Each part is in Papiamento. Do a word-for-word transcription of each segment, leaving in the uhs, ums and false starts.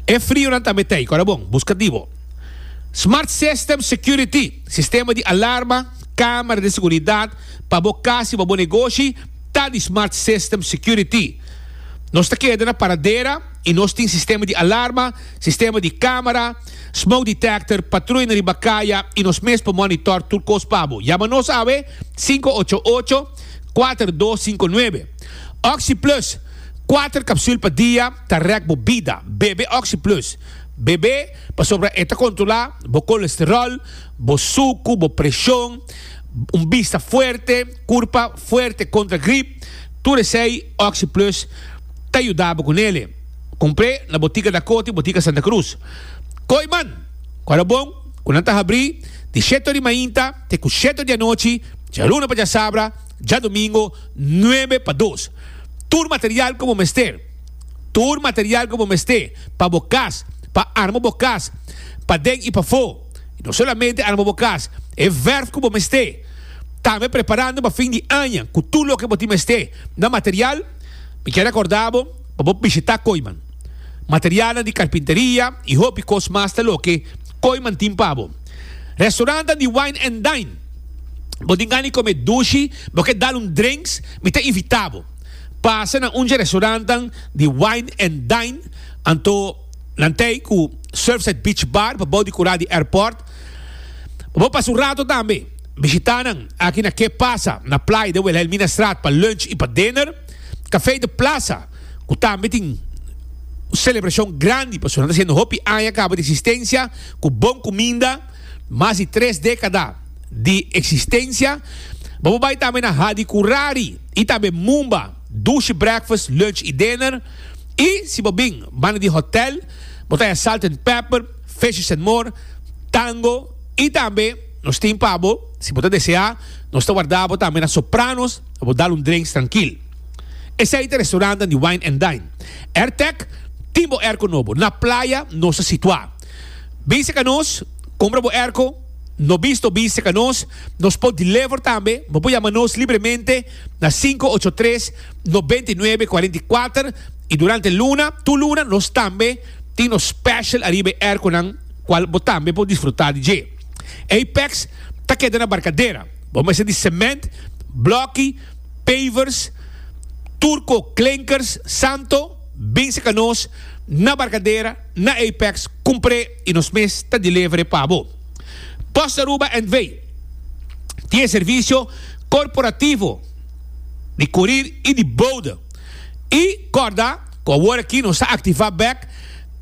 E frionan tambe t'ei, kòrda bon, buska di bo. Smart System Security, sistema di alarma, kamera di seguridat pa bo kas i pa bo negoshi, ta di Smart System Security. Nos ta keda na Paradera i nos tin sistema di alarma, sistema di kamera, smoke detector, patruya riba kaya i nos mes por monitor tur kos pa bo. Yama nos awe sinku ocho ocho, kuater dos sinku nuebe. Oxi Plus, kuater kapsul pa dia ta rèk bo bida. Bebe Oxi Plus. Bebe pasobra e ta kontrolá bo kolesteròl, bo suku, bo preshon, un bista fuerte, kurpa fuerte kontra grip. Tur esei Oxi Plus ta yuda bo ku nele. Kumpr'é na Botica Dakota i Botica Santa Cruz. Kooiman, ku ora bon ku nan ta habrí di shete ora di mainta te ku shete ora di anochi, djaluna pa djasabra, djadumingo nuebe pa dos. Tur material ku bo mester, tur material ku bo mester pa bo kas, pa arma bo kas, paden i pafó. I no solamente arma bo kas, e vèrf ku bo mester. Tambe preparando pa fin di aña ku tur loke bo tin mester na material. Mi kier rekordá bo pa bo bishitá Kooiman. Materialnan di karpinteria i hopi kos mas ta loke Kooiman tin pa bo. Restaurantnan di Wine and Dine. Bo tin gana di kome dushi, bo ke dal un drinks, mi ta invitá bo. Pasa na un dje restaurantnan di Wine and Dine, anto nan t'ei ku Surfside Beach Bar pa bou di kurá di airport. Pa bo pasa un rato tambe, bishitá nan aki na Ke Pasa na playa den Wilhelminastraat pa lunch i pa dinner. Café de Plaza, ku tambe tin un selebrashon grandi pasobra nan ta hasiendo hopi aña kaba di eksistensia ku bon kuminda, mas di tres dékada di eksistensia. Bo por bai tambe na Hadi Kurari i tambe Mumba, dushi breakfast, lunch i dinner. I si bo bin banda di hotel, bo ta haña Salt and Pepper, Fishes and More, Tango i tambe nos tin pa bo, si bo ta deseá, nos ta warda bo tambe na Sopranos pa bo dal un drinks trankil. Esei ta restaurantnan di Wine and Dine. Airtec tin bo airco nobo. Na playa nos ta situá. Bin serka nos, kumpra bo airco. No bisto bin serka nos. Nos por deliver tambe. Bo por yama nos libremente na sinku ocho tres, nobenta i nuebe, kuarenta i kuater. I durante luna, tur luna, nos tambe tin nos special ariba e airconan kual bo tambe por disfrutá di dje. Apex ta keda na Barcadera. Bo mester di cement, bloki, pavers, Turco Klinkers Santo bin seka nos na Barcadera na Apex kumpr'é i nos mes ta deliver'é pa bo. Post Aruba NV tin e servisio korporativo di kurir i di bode. I kòrda ku awor aki nos ta aktivá bèk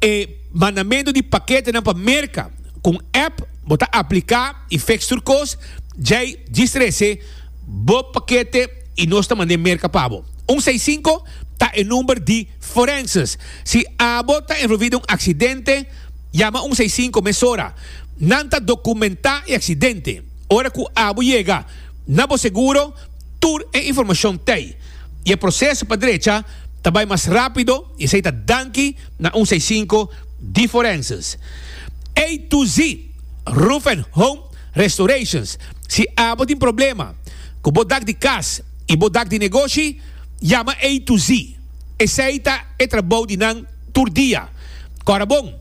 e mandamentu di paketenan pa Merka ku un app bo ta apliká i fix tur kos djei djis trese bo pakete i nos ta mand'é Merka pa bo. Un seis sinku ta e number di forenses. Si abo ta envolví den un aksidente, yama un seis sinku mesora. Nan ta dokumentá e aksidente. Ora ku abo yega na bo seguro, tur e informashon t'ei. I e proseso pa drecha ta bai mas rápido i esei ta danki na un seis sinku di forenses. A to Z Roof and Home Restorations. Si abo tin problema ku bo dak di kas i bo dak di negoshi, yama A to Z. Esei ta e trabou di nan tur dia. Kòrda bon,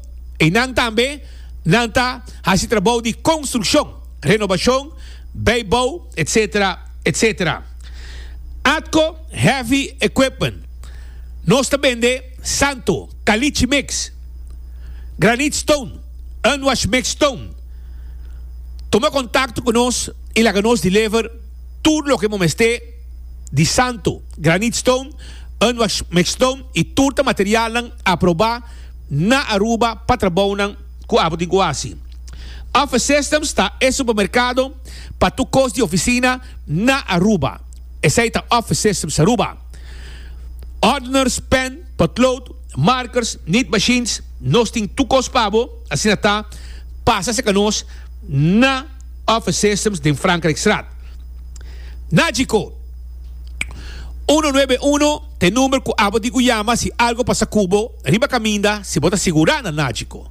einan tambe nan ta hasi trabou di konstrukshon, renobashon, bijbou, etsetera, etsetera. Atco Heavy Equipment. Nos ta bende santo, caliche mix, granite stone, unwash mix stone. Tuma kontakto ku nos i laga nos deliver tur loke bo mester di santo, granite stone, unwash mix stone i tur ta materialnan aprobá na Aruba pa trabounan ku abo tin ku hasi. Office Systems ta e supermerkado pa tur kos di ofisina na Aruba. Esei ta Office Systems Aruba. Ordeners, pen, potlood, markers, nit machines, nos tin tur kos pa bo, asina ta, pasa serka nos na Office Systems den Frankrijkstraat. Nagico, uno nuebe uno ta e number ku abo tin ku yama si algo pasa ku bo riba kaminda si bo ta sigurá na Nagico.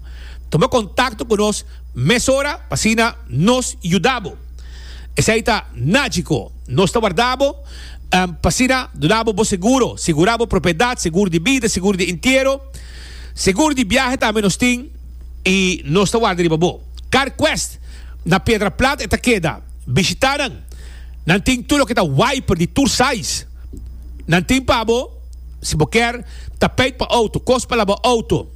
Tuma kontakto ku nos mesora pa asina nos yuda bo. Esei ta Nagico. Nos ta warda bo pa asina duna bo bo seguro, sigurá bo propiedat, seguro di bida, seguro di entiero. Seguro di biahe tambe nos tin y nos ta warda riba bo. CarQuest na Piedra Plat e ta keda. Bishita nan. Nan tin tur loke ta wiper di tur size. Nan tin pa bo si bo kier tapijt pa auto, kos pa laba auto,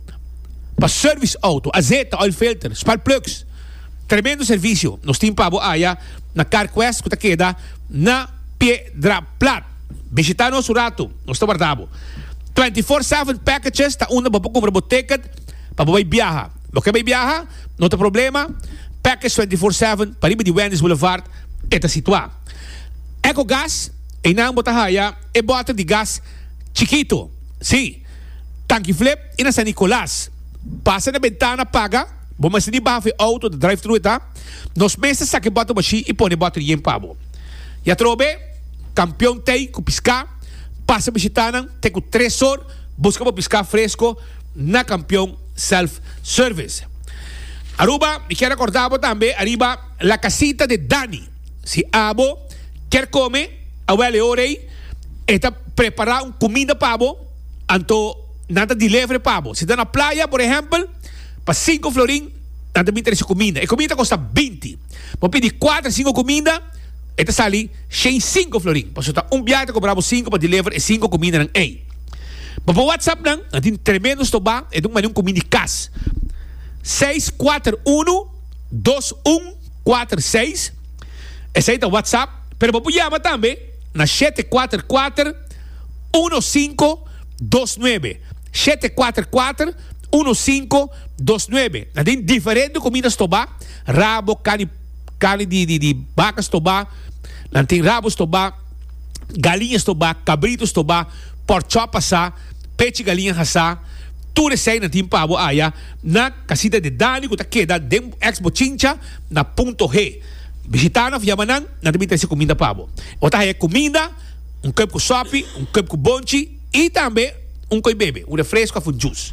pa service auto, azeta, oil filter, spark plugs. Tremendo servicio nos tin pa bo aya na CarQuest ku ta keda na Piedra Plat. Bishita nos un rato, nos ta warda bo. Twenty four seven packages ta unda bo por kumpra bo ticket pa bo bai biaha. Bo ke bai biaha? No ta problema, Package twenty four seven pariba di Wendy's Boulevard e ta situá. Ecogas, einan bo ta haya e bòter di gas chikito. Sí, Tanki Flip i na San Nicolas. Pasa na bentana paga, bo mester di baha for e auto, ta drive thru e ta. Nos mes ta saka e bòter bashí i pone e bòter yen pa bo. I atrobe, Kampion tei ku piská, pasa bishitá nan te ku tres or, buska bo piská fresko na Kampion Self Service. Aruba, mi kier rekorda bo tambe ariba La Casita de Dani. Si abo kier kome, awel e ora ei e ta prepara un kuminda pa bo, anto nan ta deliver pa bo. Si ta na playa, por ehempel, pa sinku florin nan ta bin trese kuminda. E kuminda ta kosta binti. Bo pidi kuater, sinku kuminda, e ta sali shen sinku florin. Pasobra ta un biahe ta kobra bo sinku pa deliver e sinku kumindanan ei. Bo por whatsapp nan, nan tin tremendo stobá, e ta un manera un kuminda di kas. Seis kuater unu, dos un kuater seis, esei ta whatsapp, pero bo por yama tambe na shete kuater kuater, uno sinku dos nuebe, shete kuater kuater, uno sinku dos nuebe. Nan tin diferente kuminda stobá, rabo, kani Carni di di di baca stobá, nan tin rabo stobá, galiña stobá, cabrito stobá, porkchop asá, pechi galiña hasá, tur esei nan tin pa bo aya na Casita de Dani cu ta keda den ex Bochincha na Punto G. Bishita nan of yama nan, nan ta bin trece cuminda pa bo. Bo ta haya cuminda, un cup cu sopi, un cup cu bonchi y tambe un coy bebe, un refresco of un juice.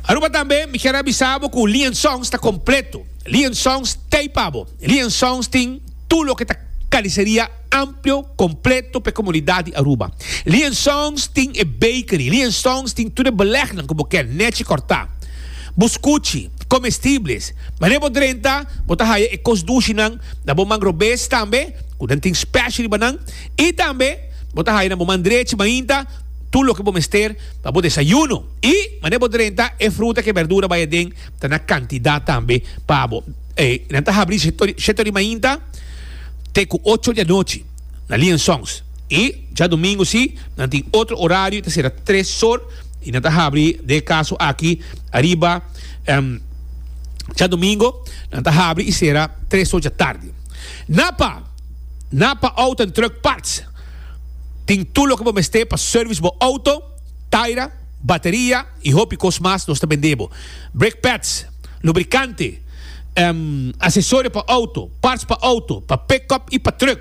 Aruba tambe mi kier a bisa bo cu Lee and Sons ta completo. Lee and Sons t'ey pa bo. Lee and Sons tin tur loke ta carniceria amplio, completo pa e comunidad di Aruba. Lee and Sons tin e bakery. Lee and Sons tin tur e belegnan cu bo kier nechi corta. Buscuchi, comestibles. Manera bo drenta, bo ta haya e cos dushinan na bo man robes tambe, cu nan tin special riba nan. Y tambe bo ta haya na bo man drechi mainta tur loke bo mester pa bo desayuno. I manera bo drenta e fruta ku e berdura bai aden ta na kantidat tambe pa bo. E nan ta habri shete ora di mainta te ku ocho di anochi na Lee and Sons. I djadumingu si nan tin otro orario ta sera tres or i nan ta habri den e kaso aki ariba djadumingu nan ta habri i sera tres or djatardi. Napa, Napa Auto and Truck Parts. Tin tur loke bo mester pa service bo auto, taira, bateria y hopi cos mas nos ta bende bo. Brake pads, lubricante, accesorio pa auto, parts pa auto, pa pickup y pa truck.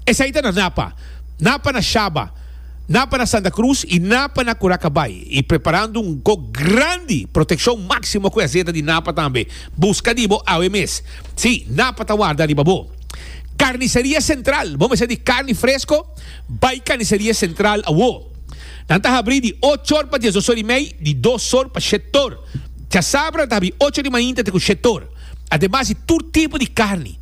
Esey ta na Napa. Napa na Shaba, Napa na Santa Cruz y Napa na Curacabay. Y preparando un go grandi, proteccion maximo cu e azeta di Napa tambe. Busca di bo awe mes. Si, Napa ta warda riba bo. Carniceria Central, bo mester di carni fresco? Bai Carniceria Central awo. Nan ta habri di ocho or pa diesdos or y mei, di dos or pa shet or. Djasabra nan ta habri ocho di mainta te cu shet or. Ademas di tur tipo di carni,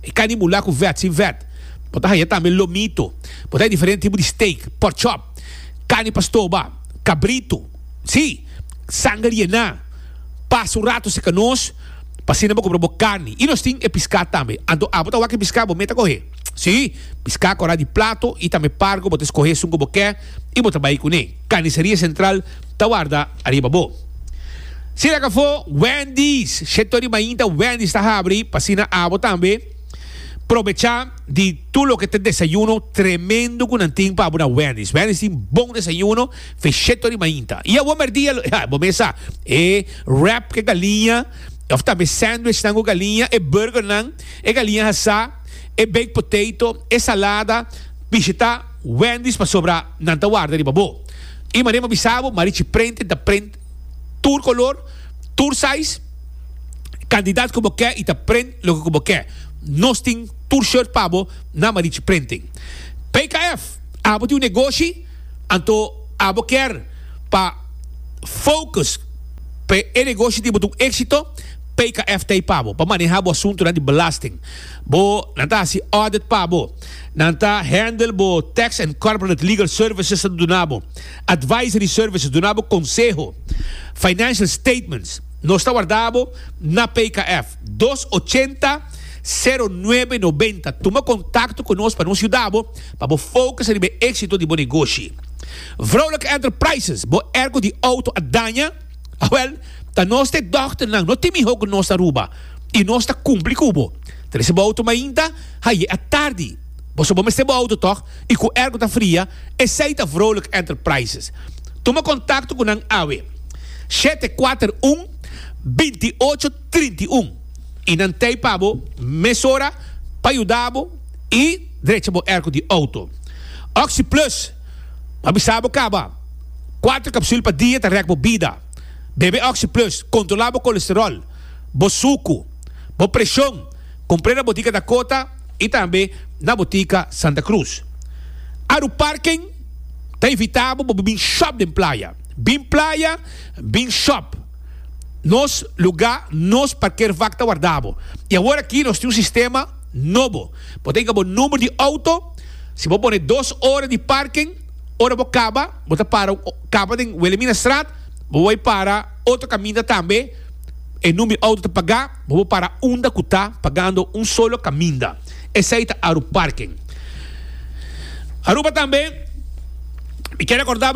e carni mula cu vet, sin vet. Bo ta haya tambe lomito, bo ta haya diferente tipo di steak, pork chop, carni pa stoba, cabrito, si, sanger yená. Pasa un rato cerca nos. Pa asina bo kumpra bo karni. I nos tin e piská tambe. Anto abo ta wak e piská bo meta kohe. Sí, piská kòrá di plato i tambe pargo bo ta skohe esun ku bo ke i bo ta bai kuné. Karniseria Sentral ta warda ariba bo. Sira kafó, Wendy's! Shete ora di mainta Wendy's ta habri pa asina abo tambe probechá di tur loke ta desayuno tremendo ku nan tin pa abo na Wendy's. Wendy's tin bon desayuno fe shete ora di mainta. I awor mèrdia, bo mes sa, e wrap ku e galiña. Of tambe sandwichnan ku galiña, e burgernan, e galiña hasá, e baked potato, e salada. Bishita Wendy's pasobra nan ta warda riba bo. I manera mi a bisa bo, Marichi Printing ta print tur kolor, tur size, kantidat ku bo ke i ta print loke ku bo ke. Nos tin tur shirt pa bo na Marichi Printing. P K F, Abo tin un negoshi, anto abo kier pa. focus pa e negoshi di bo ta un exito, P K F t'ey pa bo, pa maneha bo asunto di belasting. Bo, nan ta haci audit pa bo. Nan ta handle bo tax and corporate legal services duna bo. Advisory services, duna bo conseho. Financial statements. Nos ta warda bo na P K F. dos ochenta sero nuebe nobenta. Tuma contacto cu nos pa nos yuda bo, pa bo focus riba exito di bo negoshi. Vrolijk Enterprises, bo airco di auto a daña. Awel, ta nos te dokter nan, no tin miho cu nos Aruba. Y nos ta cumpli cu bo. Trece bo auto mainta, haye atardi. Bo bo mester bo auto toch, y cu airco ta fria, esey ta Vrolijk Enterprises. Tuma contacto cu nan awe. shete cuater un binti ocho trinta i un. Y nan t'ey pa bo mesora pa yuda bo y drecha bo airco di auto. Oxi Plus, avisa bo caba. Cuater capsule pa dia ta rek bo bida. Bebe Oxi Plus, controla bo colesterol, bo suco, bo presion. Cumpra na Botica Dakota y tambe na Botica Santa Cruz. Aru Parking ta invita bo bin shop den Playa. Bin Playa, bin shop. Nos lugar, nos parkeervak ta warda bo. Y awor aki nos tin un sistema nobo. Bo tin e number di auto, si bo pone dos ora di parking, ora bo caba, bo ta para caba den Wilhelminastraat, bo bay para otro caminda tambe, e number di auto ta paga, bo para unda cu ta pagando un solo caminda. Esey ta Aru Parking. Aruba tambe, mi kier recorda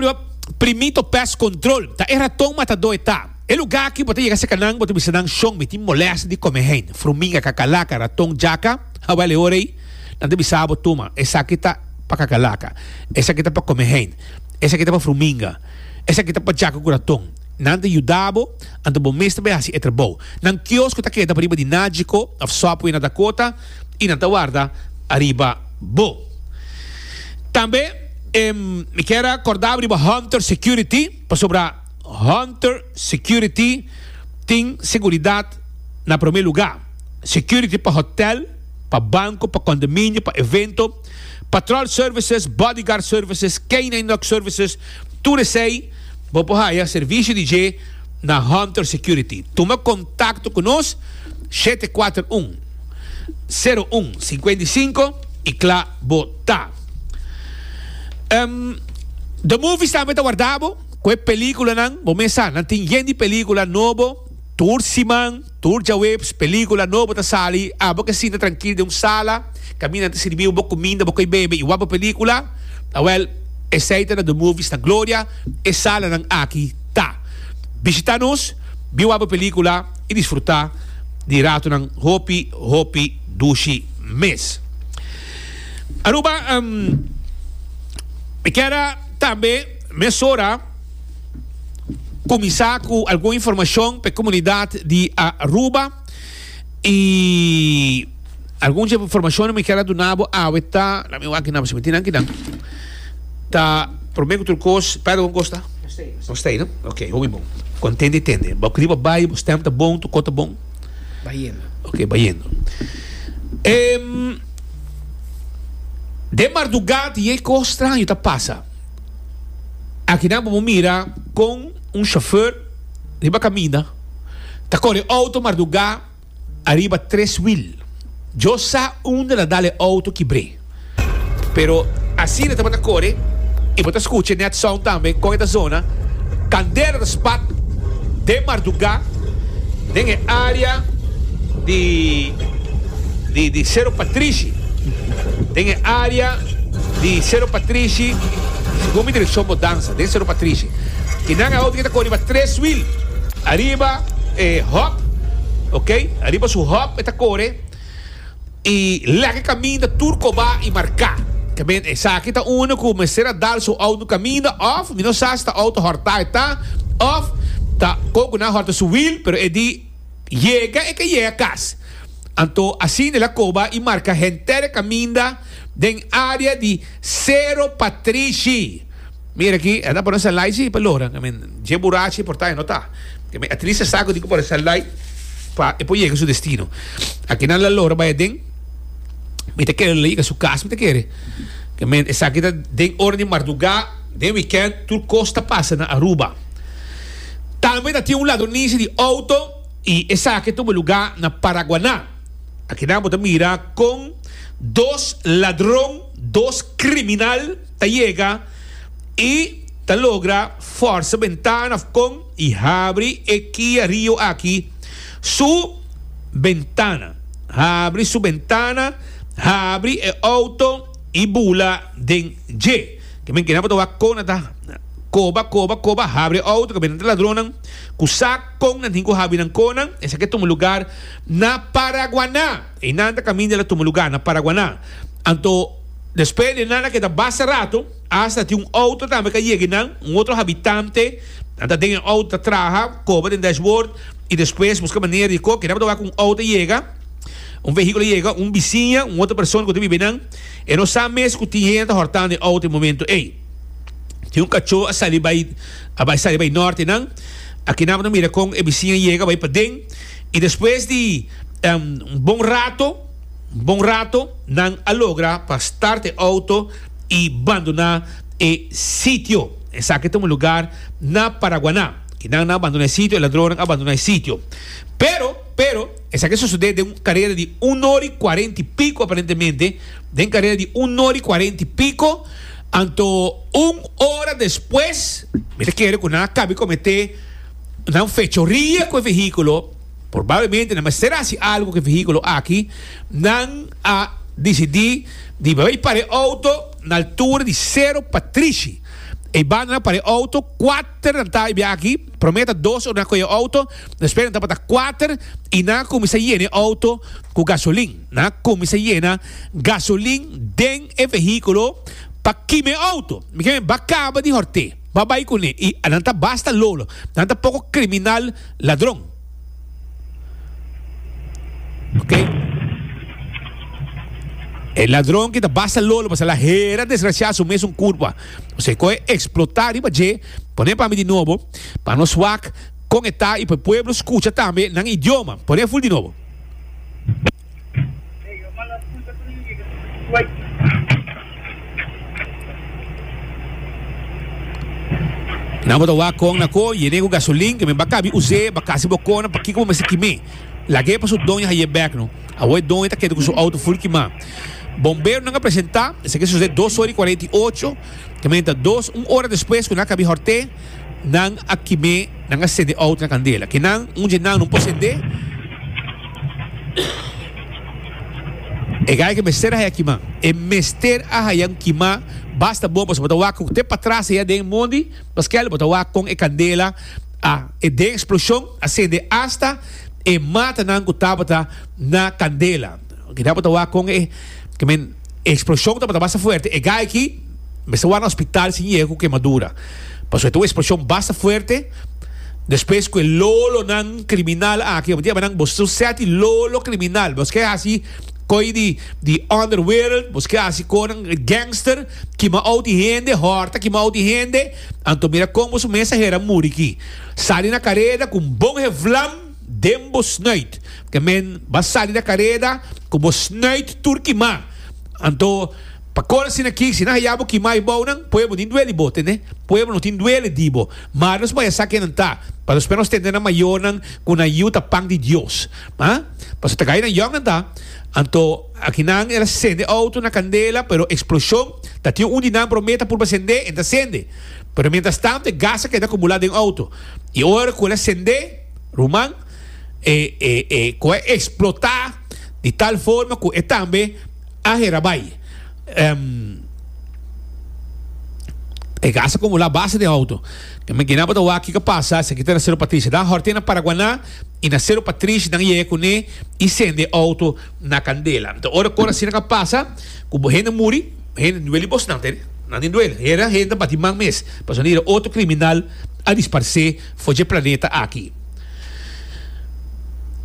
Primito Pest Control, ta e raton matado ta. E lugar aki bo ta yega serca nan, bo ta bisa nan: "Shon, mi tin molestia di comehein, fruminga, kakalaka, raton, djaka." Awel, e ora ey, nan ta bisa bo: "Tuma, esaki ta pa kakalaka, esaki ta pa comehein, esaki ta pa fruminga, esaki ta pa djaka cu raton." Nan ta yuda bo, anto bo mes ta bay haci e trabou. Nan kiosko ta keda pariba di Nagico, of Subway na Dakota, y nan ta warda ariba bo. Tambe, em, mi kier recorda riba Hunter Security, pasobra Hunter Security tin seguridad na prome lugar. Security pa hotel, pa banco, pa condominio, pa evento, patrol services, bodyguard services, K nine dog services, tur esey, bo por haya servicio di dje na Hunter Security. Tuma contacto cu nos, shete cuater un sero un cincuenta i cinco y cla bo ta. Um, The Movies tambe ta warda bo, cu e peliculanan, bo mesa, nan tin yen di pelicula nobo, tur siman, tur diahuebs, pelicula nobo ta sali. Abo kier sinta trankil den un sala, caminda ta sirbi bo cuminda, bo coy bebe y wak pelicula. Awel, esey ta na The Movies na Gloria, e salanan aki ta. Bishita nos, bin wak pelicula y disfruta di ratonan hopi, hopi, dushi mes. Aruba, um, mi kier tambe mesora cuminsa cu algun informacion pa e comunidad di Aruba y algun informacion mi kier duna bo awe ta la mi aki na se metin aki dan ta prome cu tur cos. Pero con costa Gostei, no? Ok, hopi bon. Contente tende. Bo kriba bai, bo stem ta bon, tu cota bon. Bayendo. Ok, bayendo. Em, de madrugada e cos straño ta pasa. Aki nan bo mira cu un chauffeur riba caminda ta core auto madruga ariba tres wiel. Dios sa unda el a dal e auto kibre. Pero asina e tabata core y bo ta scucha net sound tambe cu e zona candela ta spat de madruga den area di di di Cero Patrishi. Den area di Cero Patrishi, segun mi direccion Bodanza, den Cero Patrishi. Y nan auto cu ta core tres wiel. Ariba eh, hop, ok? Ariba su hop ta core y laga caminda tur coba y marca. Kiermen, esaki ta uno cu mester a dal su auto caminda of mi no sa si ta auto horta ta of ta coco na horta su wiel, pero e di yega e kier yega cas. Anto asina el a coba y marca henter caminda den area di Cero Patrishi. Mira aki, anda por esa light si pa lora. Kiermen, dje burachi por ta no ta. Kiermen, atrisa saco di por esa light pa e por yega su destino. Aki nan la lora bay den. Mi ta kere yega su cas, mi ta kere. Kiermen, esaki ta den ora di madruga, den weekend, tur cos ta pasa na Aruba. Tambe ta tin un ladronisia di outo i esaki a tuma lugá na Paraguaná. Akinan bo ta mira kon dos ladron, dos kriminal ta yega i ta logra fòrsa bentana òf kon i habri e Kia Rio aki su bentana. Habri su bentana, habri e outo i bula den dje. Ke men kina bo ta wak kon nan ta koba, koba, koba, habri e outo, ke men nan ta ladronnan ku sa kon nan tin ku habri nan konnan. Esaki a tuma lugar na Paraguaná. Einan ta kaminda el a tuma lugar, na Paraguaná. Anto despues di nan a keda basta rato, asta tin un outo tambe ku a yega einan, un otro habitante, nan ta den e outo ta traha, koba den dashboard i despues buska manera di ko. Keda bo ta wak ku un outo a yega. Un vehíkulo yega, un bisiña, un otro persona ku ta biba einan, e no sa mes ku tin hende ta hòrtando e outo e momento ei. Tin un kachó a sali bai, a bai sali bai nòrt einan. Akinan bo ta mira kon e bisiña yega bai paden i despues di un bon rato, un bon rato, nan a logra pa start e outo i bandoná e sitio. Esaki ta un lugar na Paraguaná. Kinan nan a bandoná e sitio, e ladronnan a bandoná e sitio. Pero, pero, esaki a sosodé den un karera di un ora i kuarenta i piko aparentemente, den karera di un ora i kuarenta i piko, anto un ora despues, mi ta kere ku nan a kabi kometé nan fechoria ku e vehíkulo, probablemente nan mester hasi algu ku e vehíkulo aki, nan a disidí di bai para e outo na altura di Sero Patrishi. E banda nan para e outo, kuater nan ta e biaha aki, promé ta dos ora nan a kohe e outo, despues nan tabata kuater i nan a kuminsá yena e outo ku gasolin. Nan a kuminsá yena gasolin den e vehíkulo pa kima e outo. Mi ke men ba kaba di hòrt'é, ba bai kuné i nan ta basta lolo, nan ta poko kriminal ladron. Ok. E ladron ki ta basta lolo pasobra la hera desgraciá su mesun kurpa. Osea ku e eksplotá riba dje, pone pa mi di nobo pa nos wak kon e ta i pa e pueblo skucha tambe nan idioma. Pone ful di nobo. Nan bo ta wak kon na ko yene ku gasolin ke men ba kabi us'é ba kasi bo kona pakiko bo mester kim'é. Lag'é pa su doño haye bek no. Awor e doño ta keda ku su outo ful kimá. Bomberonan a presentá, esaki a sosodé dos ora i kuarenta i ocho, ke men ta dos un ora despues ku nan a kabi hòrt'é, nan a kim'é, nan a sende outo na kandela. Kinan, un dje nan no por send'é. E gai ke mester a haya kimá. E mester a haya un kimá basta bon pasobra bo ta wak ku te patras aya den mondi paskel bo ta wak kon e kandela a e den eksploshon a sende asta e matanan ku tabata na kandela. Keda bo ta wak kon e ke men e eksploshon tabata basta fuerte. E gai aki mester wak na hospital sin yega ku kemadura pasobra e ta un eksploshon basta fuerte. Despues ku e lolonan kriminal aki, bo tin nan boso seti lolo kriminal, boso ke hasi koi di di underwereld, boso ke hasi konan gangster, kima out di hende, hòrta kima out di hende, anto mira kon boso mes a hera muri ki. Sali na kareda ku un bon hevlam den bo snuit. Ke men ba sali na kareda ku bo snuit tur kimá. Anto pa kor asina aki, si nan haya bo kima e bounan, pueblo tin duele bo, tende? Pueblo no tin duele di bo. Mar nos maya sa ken nan ta, pa nos nos tende nan mayornan ku nan yu ta pan di Dios. Ha? Pasobra ta gai nan yòn nan ta. Anto aki nan el a sende outo na kandela, pero eksploshon ta tin un di nan promé ta purba sendé, en ta sende. Pero mientras tanto e gas a keda akumulá den outo. I ora ku el a sendé, ruman, e e e ku a eksplotá di tal forma ku e tambe A hera bai. E gas a kumulá base den outo. Ke men kina bo ta wak kiko a pasa, esaki ta na Sero Patricia. Dan hòrt'é na Paraguaná i na Sero Patricia nan yega kuné i sende e outo na kandela. Anto ora kor asina ka pasa ku bo hende muri, hende duele bosnan tende. Nan tin duele. Hera hende ta bati man mes pasobra nan hera otro kriminal a disparsé for dje planeta aki.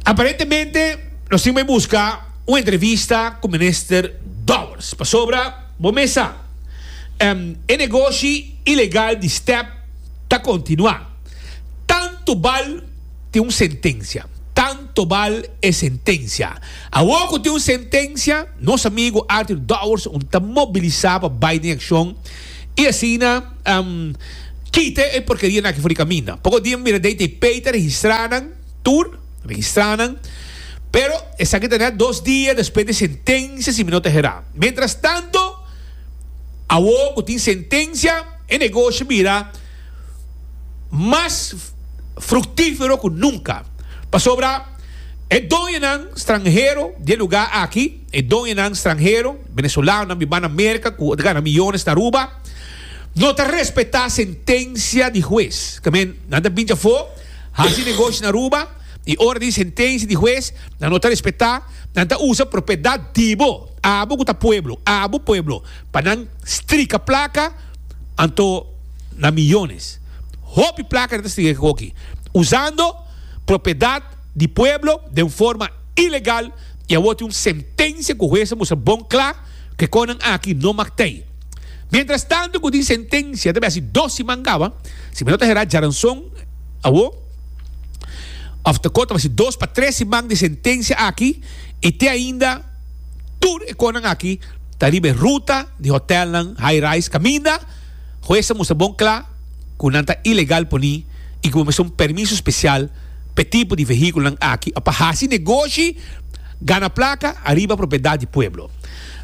Aparentemente nos tin bai buska. Un entrevista ku Minister Dowers pasobra bo mes sa e negoshi ilegal di step ta kontinuá. Tantu bal tin un sentensia, tanto bal e sentensia. Awor ku tin un sentensia nos amigu Arthur Dowers un ta mobilisá pa bai den akshon i asina Kita e porkerianan aki for di kaminda. Poko dia mi mira D T P ta registrá nan tur, registrá nan. Pero esaki ta net dos dia despues di sentensia, si mi no ta herá. Mientras tanto, awor ku tin sentensia, e negoshi bira mas fruktífero ku nunka. Pasobra e doñonan stranhero di e lugá aki, e doñonan stranhero, venezolanonan biba na Merka, ku ta gana miyones na Aruba, no ta respetá sentensia di hues. Ke men, nan ta bin afó, hasi negoshi na Aruba, i ora di sentensia di hues, nan no ta respetá, nan ta usa propiedat di bo, abo ku ta pueblo, abo pueblo, pa nan strika plaka, anto na miyones. Hopi plaka nan ta strika aki. Usando propiedat di pueblo di un forma ilegal i awor tin un sentensia ku hues a mustra bon kla ku e kosnan aki no mag t'ei. Mientras tanto ku tin sentensia, debe hasi dos siman kaba, si mi no ta herá djaranson awor, òf ta konta hasi dos pa tres siman di sentensia aki i te ainda tur e kosnan aki ta riba e ruta di hotelnan high rise kaminda hues a mustra bon kla ku nan ta ilegal poni i ku bo mester un permiso spesial pa e tipo di vehíkulonan aki pa hasi negoshi gana plaka ariba propiedat di pueblo.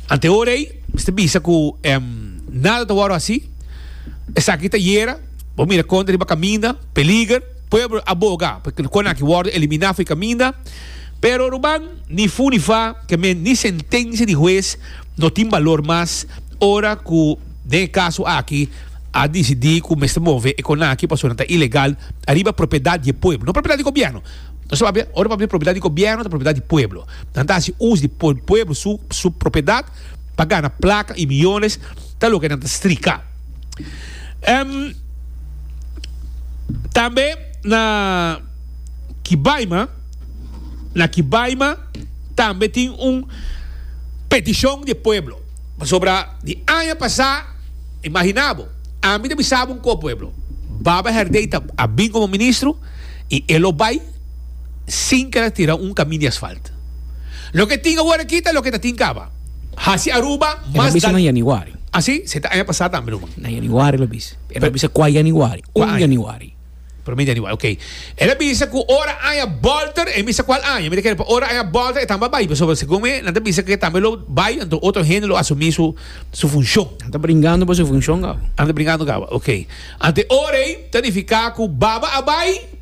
Ante ora ei mester bisa ku nada ta wòrdu hasi. Esaki ta yera, bo mira kontra riba kaminda, peliger, pueblo a boga pa e kon aki wòrdu eliminá for di kaminda, pero ruman ni fu ni fa, ke men ni sentensia di hues no tin balor mas ora ku den e kaso aki a disidí ku mester move e kon aki pasobra nan ta ilegal ariba propiedat di e pueblo, no propiedat di gobièrnu. Nos ta papia, ora papia di propiedat di gobièrnu ta propiedat di pueblo. Nan ta hasi uso di pueblo su su propiedat pa gana plaka i miyones ta loke nan ta strika. Tambe na Kibaima, na Kibaima tambe tin un petishon di e pueblo. Pasobra di aña pasá, imaginá bo, ami ta bisa bo un ko pueblo, Baba Herdey ta a bin komo ministro i e lo bai sin keda tira un kamin di asfalt. Loke tin awor aki ta loke ta tin kaba. Hasi Aruba El a mas bisa dal na januari. Ah si? Se ta aña pasá tambe ruman. Na januari el a bisa. El a bisa kua januari? Kua Un aña? Januari. Promé januari, ok. El a bisa ku ora aña bolter, e bisa kual aña. Mi ta kere pa ora aña bolter e tambe a bai, pasobra segun mi nan ta bisa ku e tambe lo bai, anto otro hende lo asumí su su funshon. Nan ta bringando pa su funshon kaba. Nan ta bringando kaba, ok. Anto e ora ei ta nifiká ku Baba a bai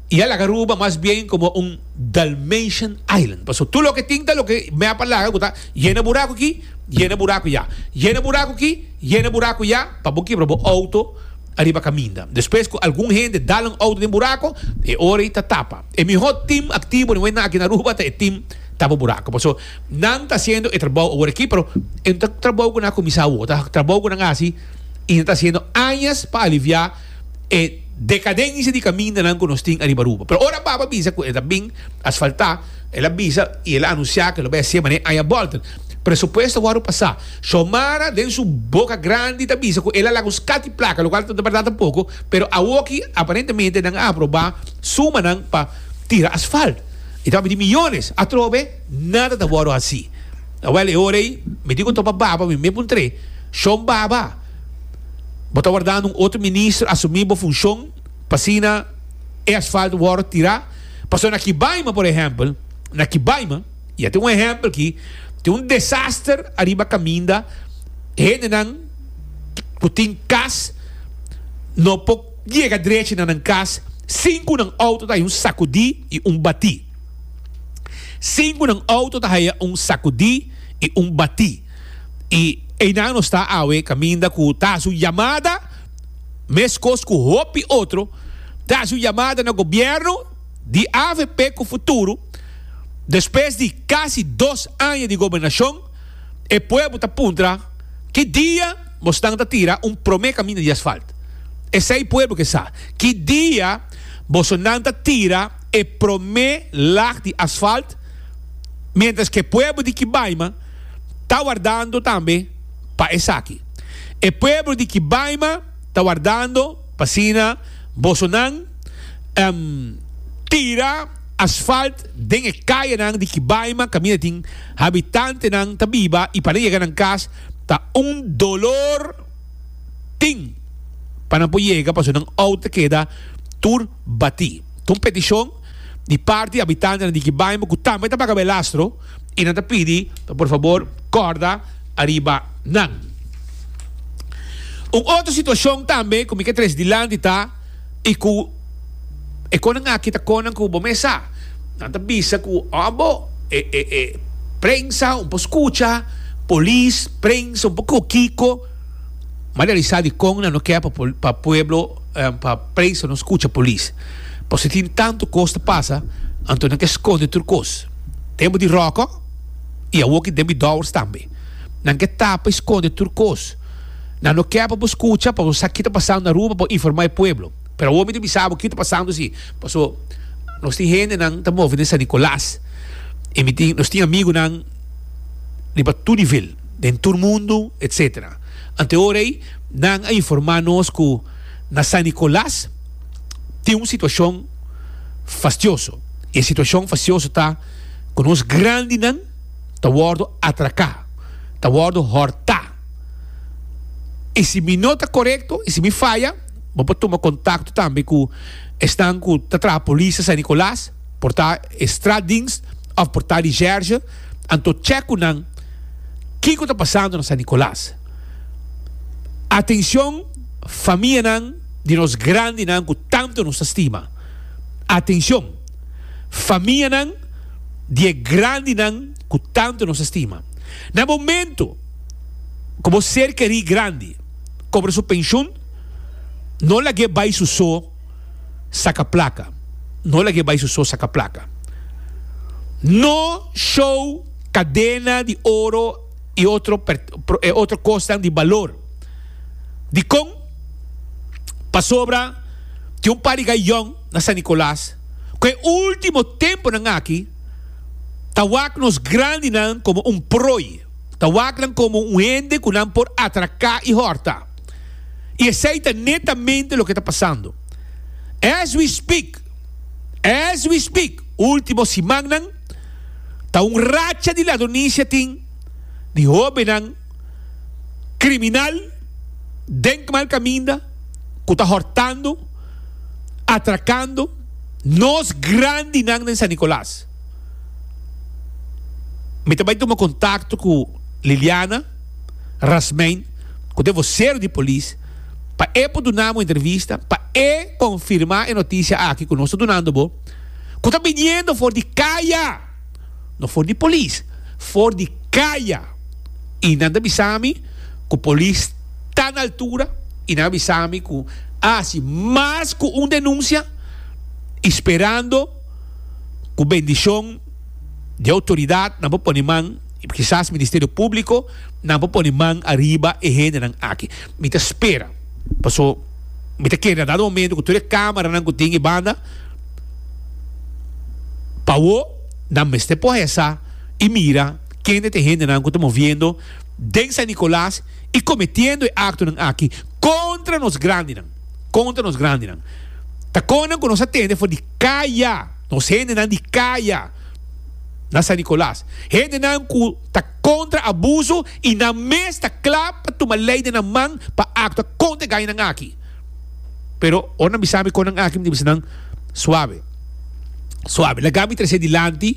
i a laga Aruba mas bien komo un Dalmatian Island. Pasobra tur loke tin ta loke mi a laga ku ta yena buraku aki, yena buraku ya, yena buraku aki, yena buraku ya, pa bo kibra bo outo ariba kaminda. Despues ku algun hende dal un outo den buraku, e ora ei ta tapa. E mihó tim aktivo den aki na Aruba ta e tim tapa buraku. Pasobra nan ta hasiendo e trabou awor aki, pero e no ta trabou ku nan a kuminsá awor, ta trabou ku nan a hasi i nan ta hasiendo añas pa aliviá e dekadensia di kamindanan ku nos tin ariba Aruba. Pero ora Baba bisa ku e ta bin asfaltá, el a bisa i el a anunsiá ku lo bai hasié manera aña bòlter. Presupuesto a wòrdu pasá. Xiomara den su boka grandi ta bisa ku el a laga un skat di plaka, lokual ta bèrdat tampoko, pero awoki aparentemente nan a aprobá sumanan pa tira asfalt. I ta papia di miyones. Atrobe nada ta wòrdu hasí. Awèl e ora ei mi tin ku topa Baba, mi me puntr'é, Shon Baba, bo ta wardando un otro minister asumí bo funshon pa asina e asfalt wòrdu tirá? Pasobra na Kibaima, por ehèmpel, na Kibaima, Ya tin un ehempel ki tin un desaster ariba kaminda, hendenan ku tin kas no por yega drechi na nan kas sin ku nan outo ta haya un sakudí i un batí. Sin ku nan outo ta haya un sakudí i un batí. I einan nos ta awe kaminda ku ta hasi un yamada meskos ku hopi otro ta hasi un yamada na gobièrnu di avp ku futuro. Despues di kasi dos aña di gobernashon, e pueblo ta puntra ki dia bosnan ta tira un promé kaminda di asfalt. Esei pueblo ke sa. Ki dia bosonan ta tira e promé lag di asfalt, miéntras ku e pueblo di Kibaima ta wardando tambe pa esaki. E pueblo di Kibaima ta wardando pa asina bosonan tira asfalt den e kayanan di Kibaima kaminda tin habitantenan ta biba i pa nan yega nan kas ta un dolor tin pa Pa nan por yega pasobra nan outo ta keda tur batí. Ta un petishon di parti di habitantenan di Kibaima ku tambe ta paga belastro i nan ta pidi pa por fabor kòrda ariba nan. Un otro situashon tambe ku mi ke trese dilanti ta i ku e konan aki ta konan ku bo mes sa. Nan ta bisa ku abo e e e prensa un por skucha, polis, prensa un por ku kiko. M'a realisa dikon nan no ke pa pa pueblo pa prensa no skucha polis. Pasobra tin tantu kos ta pasa anto nan ke skonde tur kos. Tempu di Rocco i awor ki tempu di Dowers tambe. Nan ke tapa i skonde tur kos. Nan no ke pa bo skucha pa bo sa ki ta pasando na Aruba pa bo informa e pueblo. Pero awor mi ta bisa bo ki ta pasando si. Pasobra nos tin hendenan ta move den San Nicolas i mi tin nos tin amigunan riba tur nivel den tur mundu etcetera. Ante ora ei nan a informa nos ku na San Nicolas tin un situashon fastioso. I e situashon fastioso ta ku nos grandinan ta wòrdu atraká, ta wòrdu hòrtá. I si mi no ta korekto i si mi faya, bo por tuma kontakto tambe ku esnan ku ta traha polis na San Nicolas, por ta e straatdienst òf por ta recherche, anto chèk ku nan kiko ta pasando na San Nicolas. Atencion famianan di nos grandinan cu tanto nos ta stima. Atencion famianan di e grandinan cu tanto nos ta stima. Na momento cu bo ser keri grandi cobra su pensioen, no lag'e bay su so saca placa. No lag'e bay su so saca placa. No show cadena di oro y otro otro cosnan di balor. Dikon? Pasobra tin un par di gayon na San Nicolas ku e ultimo temponan aki ta wak nos grandinan komo un prooi, ta wak nan komo un hende ku nan por atraká i hòrta. I esei ta netamente loke ta pasando. As we speak, as we speak, ultimo simannan ta un racha di ladronisia tin di hóbennan kriminal den mal kaminda ku ta hòrtando, atrakando nos grandinan den San Nicolas. Mi ta bai tuma kontakto ku Liliana Rasmijn ku ta e vosero di polis pa e por duna bo entrevista, pa e konfirmá e notisia aki ku nos ta dunando bo, ku ta biniendo for di kaya! No for di polis, for di kaya. I nan ta bisa mi ku polis ta na altura i nan a bisa mi ku a hasi mas ku un denunsia i sperando ku bendishon di outoridat nan por pone man, kisas Ministerio Públiko nan por pone man ariba e hendenan aki. Mi ta spera, paso mi ta kere na dado momento ku tur e kameranan ku tin e banda pa awo nan mester por hesa i mira kende ta e hendenan ku ta moviendo den San Nicolas i kometiendo e aktonan aki kontra nos grandinan, kontra nos grandinan. Ta konnan ku nos a tende for di kaya, nos hendenan di kaya na San Nicolas, hendenan ku ta kontra abuso i nan mes ta kla pa tuma lei den nan man pa aktua kontra e gainan aki. Pero ora nan bisa mi konnan aki, mi ta bisa nan, Suave, suave, laga mi trese dilanti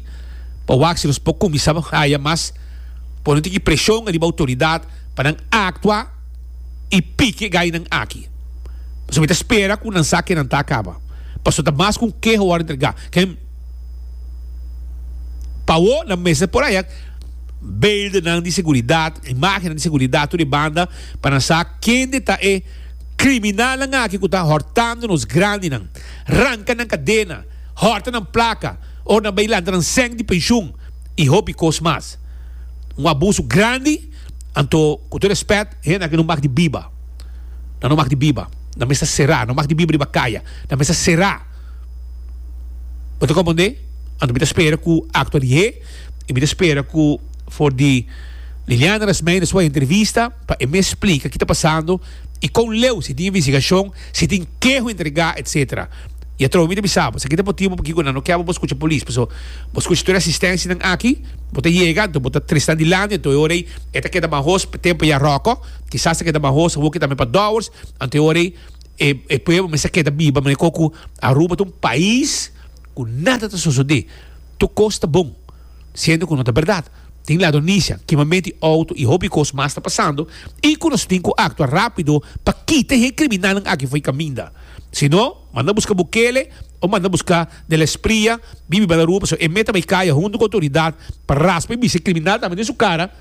pa wak si nos por kuminsá haya mas pone un tiki preshon riba outoridat pa nan aktua i piki e gainan aki. Pasobra mi ta spera ku nan sa ke nan ta kaba. Pasobra ta mas ku un keho wòrdu entregá. Ken pa awor nan mester por haya beeldennan di seguridat, imágennan di seguridat tur e banda pa nan sa kende ta e kriminalnan aki ku ta hòrtando nos grandinan, ranka nan kadena, hòrta nan plaka, ora nan bai lanta nan sèn di penshun i hopi kos mas. Un abuso grandi, anto ku tur respèt, hende aki no mag di biba. Nan no mag di biba. Nan mester será. No mag di biba riba kaya. Nan mester será. Bo ta komprendé? Anto mi ta spera ku aktua lihé i mi ta spera ku for di Liliana Rasmijn su entrevista pa e mes splika ki ta pasando i kon leu, si tin investigashon, si tin keho entregá, etsetera. I atrobe mi ta bisa bo, esaki ta motibu pakiko nan no keba bo skucha polis, pasobra bo skucha tur e asistensianan aki, bo ta yega, anto bo ta tres nan dilanti, anto e ora ei e ta keda mahos pa tempu ya ròkò, kisas ta keda mahos awoki tambe pa dòwers, anto e ora ei E, e pueblo mester keda biba manera ku Aruba ta un pais ku nada ta sosodé. Tur kos ta bon. Siendo ku no ta bèrdat. Tin ladronisia, kimamentu di outo i hopi kos mas ta pasando i ku nos tin ku aktua rápido pa kita e kriminalnan aki for di kaminda. Si no, manda buska Bukele o manda buska De La Espriella bibi banda Aruba pasobra e meta bai kaya huntu ku outoridat pa raspa i bisa e kriminal tambe den su kara,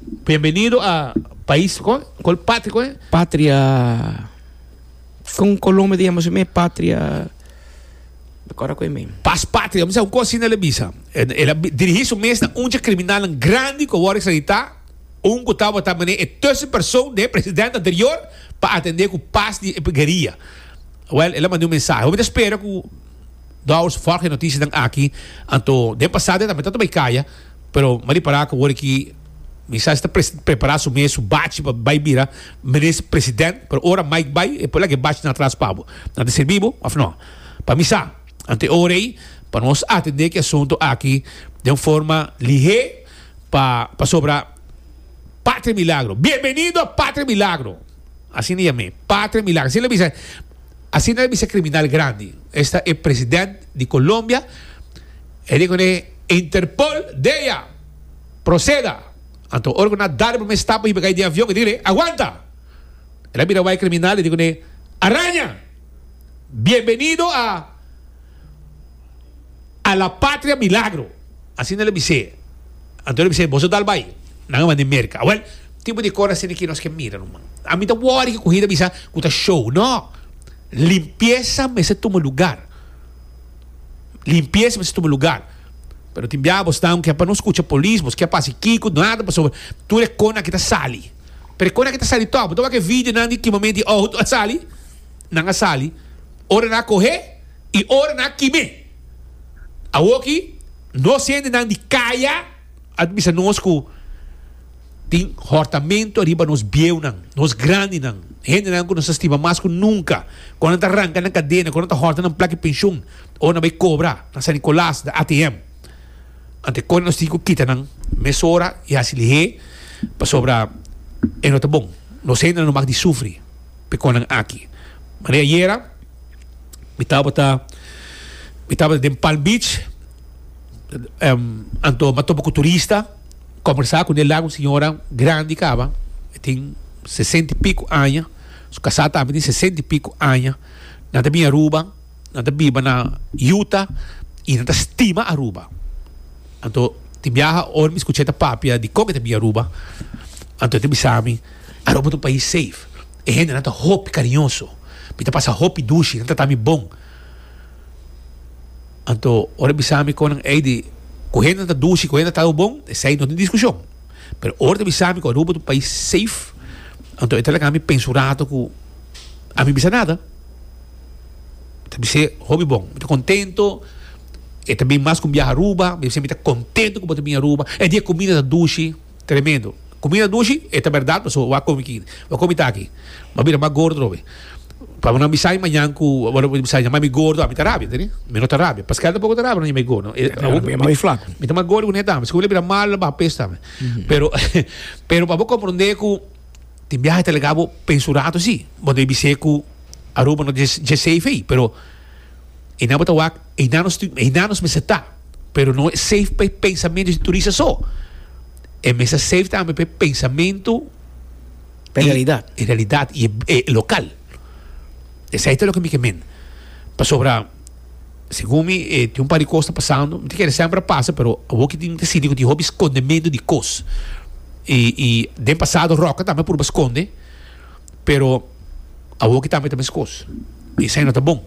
Bienvenido a pais, kol patria kon e? Patria, kon Colombia ta yama su mes? Patria. Ora ku e men. Pas patria, mi sa un kos asina el a bisa. El a dirigí su mes na un dje kriminalnan grandi ku a wòrdu ekstraditá, un ku tabata manera e tussenpersoon den e president anterior pa atendé ku pas di e gueria. Wèl, el a manda un mensahe. Hopi ta spera ku Dowers vòlg e notisianan aki. Anto, den pasado e tambe tabata bai kaya, pero mi a ripará ku awor aki Mi sa si ta prepara su mes su bachi pa bai bira minister president, pero ora Mike bai e por laga e bachinan atras pa bo. Nan ta sirbi bo of no? Pa mi sa. Anto e ora ei pa nos atende ki asunto aki den un forma lihé pa pasobra Patria Milagro. Bienvenido a Patria Milagro. Asina yam'é, Patria Milagro. Asina el a bisa, asina el a bisa criminal grandi. Esta e president di Colombia. E di kuné Interpol dea. Proceda! Anto ora cu nan a dal e prome stap pa hiba cay den avion, e di cune, Aguanta! El a bira wak e criminal, e di cune, Araña! Bienvenido a a la patria milagro! Asina el a bis'é. Anto el a bis'é, Boso dal bay! Nan a manda e Merca. Awel, tipo di cos asina ki nos ke mira, ruman. Ami ta worry cu hende a bisa cu ta show. No! Limpieza mester tuma lugar. Limpieza mester tuma lugar. Pero tin bia bos ta ke pa no skucha polis, bos ke pa hasi kiko, nada pasobra tur e kona aki ta sali. Pero e kona aki ta sali tòg. Bo ta wak e videonan di ki momento e outo a sali, nan a sali ora nan a kohe i ora nan a kim'é. Awoki nos hendenan di kaya a bisa nos ku tin hòrtamentu ariba nos bieunan, nos grandinan, hendenan ku nos ta stima mas ku nunka. Ku nan ta ranka nan kadena, ku nan ta hòrta nan plaka di penshun, ora nan bai kobra na San Nicolas, na A T M. Ante kore nos tin ku kita nan mesora i hasi lihé pasobra e no ta bon. Nos hendenan no mag di sufri pa e konan aki. Manera ayera mi tabata mi tabata den Palm Beach, anto mi a topa ku turista. Kombersá ku Nela, un señora grandi kaba, e tin sesenta i piku aña, su kasá tambe tin sesenta i piku aña. Nan ta bin Aruba, nan ta biba na Utah i nan ta stima Aruba. Anto tin biaha ora mi skuch'é ta papia dikon e ta bin Aruba, anto e ta bisa mi, Aruba ta un pais safe, e hendenan ta hopi kariñoso, mi ta pasa hopi dushi, nan trata mi bon. Anto ora e bisa mi kon nan ey di ku hende ta dushi, ku hende ta trata bo bon, esey no tin diskushon. Pero ora ta bisa mi ku Aruba ta un pais safe, anto e ta laga mi pensa un rato ku ami bisa nada. Mi ta bis'é hopi bon, mi ta kontento, e ta bin mas ku un biaha Aruba, mi bisa mi ta kontento ku bo ta bin Aruba, e di e kumida ta dushi. Tremendo. Comida dushi, e ta berdad pasobra wak comi ki, wak comi taki. M'a bira mas gordo trobe. Pa bo nan bisa mañan cu, bo nan bisa yama mi gordo, ami ta rabia, tende? Mi no ta rabia. Pascal tampoco ta rabia no yama mi gordo. E, Pero bo yama mi flaco. Mi ta mas gordo cu ne tambe. Si cu mi bira malo, baha peso tambe. Pero, pero pa bo comprende cu tin biaha ta laga bo pensa un rato si. Bo debe bis'é cu Aruba no dje dje safe ei, pero einan bo ta wak, einan nos tin, einan nos mester ta. Pero no e safe pa e pensamento di turista so. E mester safe tambe pa e pensamento Pa e realidad. E realidad y e local. Esei ta loke mi ke men. Pasobra segun mi e tin un par di kos ta pasando. Mi ta kere semper a pasa pero awor ki tin ta sinti ku tin hopi skondemento di kos. Y y den pasado Roca tambe a purba skonde pero awor ki tambe ta meskos. Y esei no ta bon.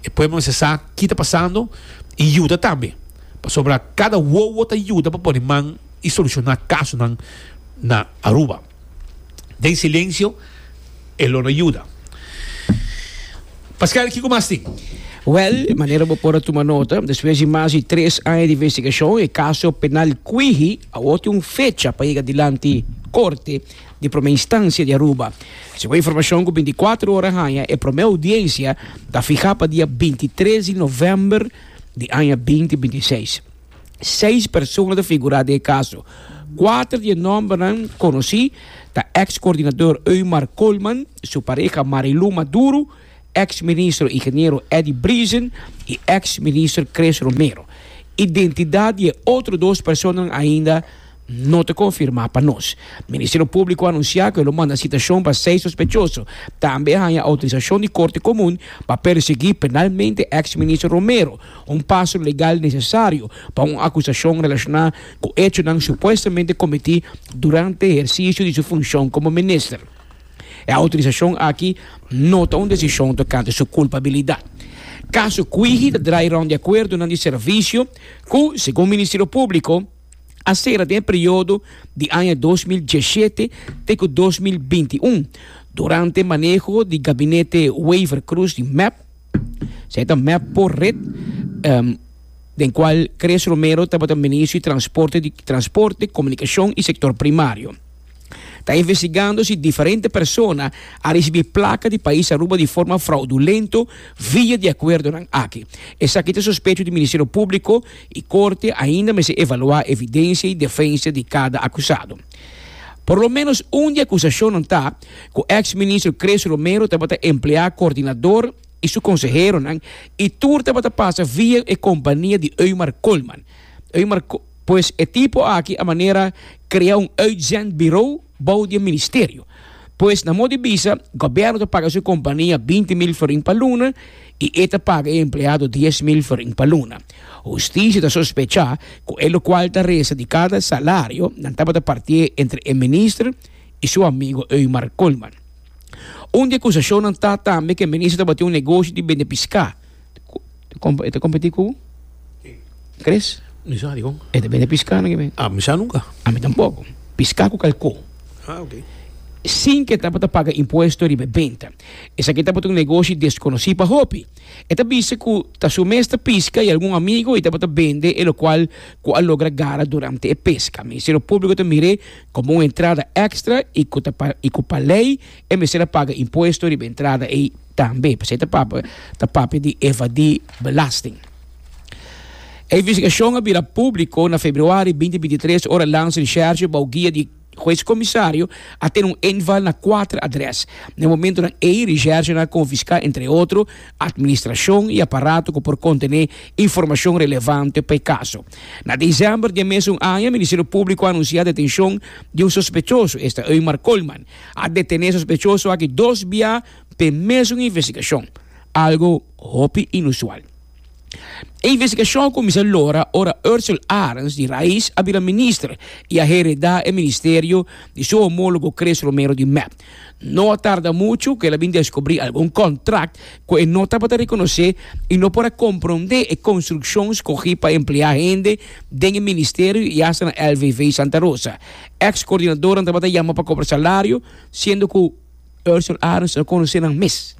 E pueblo mester sa ki ta pasando y yuda tambe. Pasobra kada wowo ta yuda pa pone man y soluciona casonan na Aruba. Den silencio e lo no yuda. Pascal, kico mas tin? Wel, manera bo por a tuma nota, despues di mas di tres aña di investigacion, e caso penal Kwihi awor tin un fecha pa yega dilanti Corte di Prome Instancia di Aruba. Segun informacion cu binticuatro ora haña, e prome audiencia ta fiha pa dia bintitres di november di aña binti bintiseis. Seis persona ta figurá den e kaso, Kuater di e nòmbernan konosí ta eks koordinador Eumar Koolman, su pareha Marilou Maduro, eks ministro ingeniero Eddy Briesen i eks minister Chris Romero. Identidat di e otro dos personanan ainda no ta konfirmá pa nos. Ministerio Públiko a anunsiá ku e lo manda sitashon pa seis sospechoso. Tambe a haña outorisashon di Korte Komun pa persiguí penalmente eks minister Romero, un paso legal nesesario pa un akusashon relashoná ku echonan supuestamente kometí durante ehersisio di su funshon komo minister. E outorisashon aki no ta un desishon tokante su kulpabilidat. Kaso Kwihi ta drai rònt di akuerdonan di servisio ku, segun Ministerio Públiko, a sera den e periodo di aña dos mil diesshete te ku dos mil binti un durante maneho di gabinete Wever-Croes di mep, esei ta mep por red, den kual Chris Romero tabata ministro di Transporte di Transporte, Komunikashon i Sektor Primario. Ta investigando si diferente persona a ricibi placa di pais Aruba di forma fraudulento via di acuerdonan aki. Esaki ta sospecho di Ministerio Publico y Corte ainda mester evalua evidencia y defensa di cada acusado. Por lo menos un di acusacionnan ta cu ex ministro Chris Romero tabata emplea coordinador y su conseheronan y tur tabata pasa via e compania di Eumar Koolman. Eumar Ko-, pues e tipo aki a manera crea un uitzendbureau bou di e ministerio. Pues na modo di bisa, gobierno ta paga su compania binti mil florin pa luna y e ta paga e empleado dies mil florin pa luna. Justicia ta sospecha cu e locual ta reza di cada salario nan tabata partie entre e minister y su amigo Eumar Koolman. Un di acusacionnan ta tambe cu e minister tabatin un negocio di bende pisca. E ta competi cu? Chris? Mi sa, digo. E ta bende pisca, no ke ben? Ah, mi sa nunca. A mi tampoco. Pisca cu calcó. Ah, ok. Sin que tabata paga impuesto riba benta. Esaki tabata un negoshi desconocí pa hopi. E ta bisa cu ta su mes ta pisca y algun amigo y tabata bende e locual cu a logra gara durante e pesca. Ministerio Público ta mire como un entrada extra y cu ta pa, y cu pa ley e mester a paga impuesto riba entrada ei tambe. P'esei ta papia, ta papia di evadí belasting. E investigacion a bira público na februari binti binti tres ora Landsrecherche bou guia di juez comisario a tene un inval na cuater adres. Na e momentonan ei, recherche a confisca, entre otro, administracion y aparato cu por contene informacion relevante pa e caso. Na december di e mesun aña, Ministerio Público a anuncia detencion di un sospechoso, esta Eumar Koolman. A detene e sospechoso aki dos bia p'e mesun investigacion, algo hopi inusual. E investigacion a cuminsa lora ora Ursell Arends di Raiz a bira minister y a hereda e ministerio di su homólogo Chris Romero di M E P. No a tarda mucho cu el a bin descubri algun contract cu e no tabata reconoce y no por a comprende e construccion scogi pa emplea hende den e ministerio y hasta na L V V Santa Rosa. Ex-coordinador tabata llama pa cobra salario, siendo cu Ursell Arends no conoce nan mes.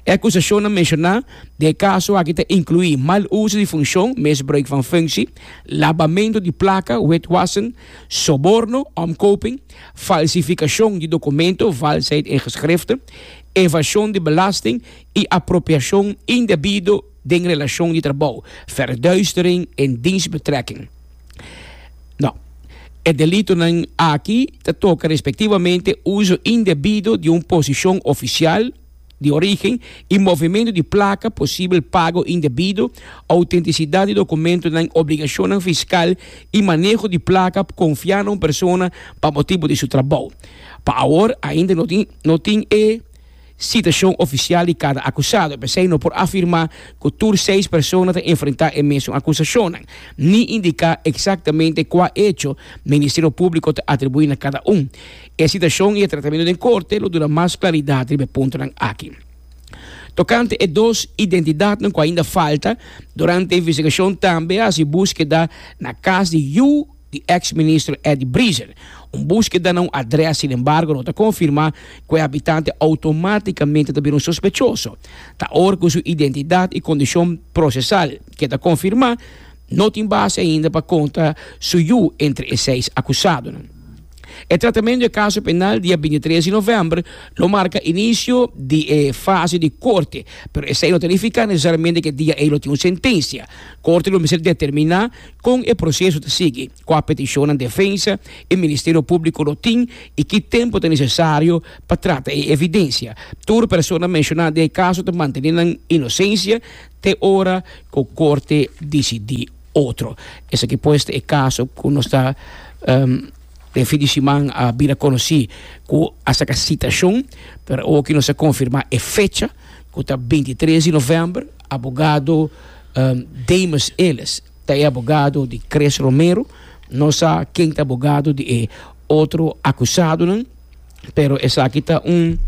E acusacionnan menciona den e caso aki ta inclui mal uso di funcion, misbruik van functie, labamento di placa, witwassen, soborno, omkoping, falsificacion di documento, valsheid in geschriften, evasion di belasting y apropiacion indebido den relacion di trabou, verduistering en dienstbetrekking. No. E delitonan aki ta toca respectivamente uso indebido di un posicion oficial di origen y movimento di placa, posibel pago indebido, autenticidad di documentonan, obligacionnan fiscal y maneho di placa confia na un persona pa motibo di su trabou. Pa awor ainda no tin, no tin e citacion oficial di cada acusado. P'esei no por afirma cu tur seis persona ta enfrenta e mesun acusacionnan, ni indica exactamente cua hecho Ministerio Público ta atribui na cada un. E citacion y e tratamento den corte lo duna mas claridad riba e puntonan aki. Tocante e dos identidadnan cu ainda falta, durante e investigacion tambe haci búsqueda na cas di yu di ex-ministro Eddy Briesen. Un búsqueda na un adres, sin embargo, no ta confirma cu e habitante automáticamente ta bira un sospechoso. Ta ora cu su identidad y condicion procesal que ta confirma, no tin base ainda pa conta su yu entre e seis acusadonan. E tratamento di e caso penal dia binti tres di november lo marca inicio di e fase di corte, pero esey no ta nifica necesariamente cu e dia ey lo tin un sentencia. Corte lo mester determina con e proceso ta sigui, cua peticionnan defensa y Ministerio Publico lo tin y ki tempo ta necesario pa trata e evidencia. Tur persona menciona den e caso ta mantene nan inocencia te ora cu corte dicidi otro. Esaki pues ta e caso cu nos ta den fin di siman a bira conoci cu a saca citacion, pero awoki nos a confirma e fecha cu ta binti tres di november. Abogado Demus Ellis ta e abogado di Chris Romero. No sa ken ta abogado di e otro acusadonan, pero esaki ta un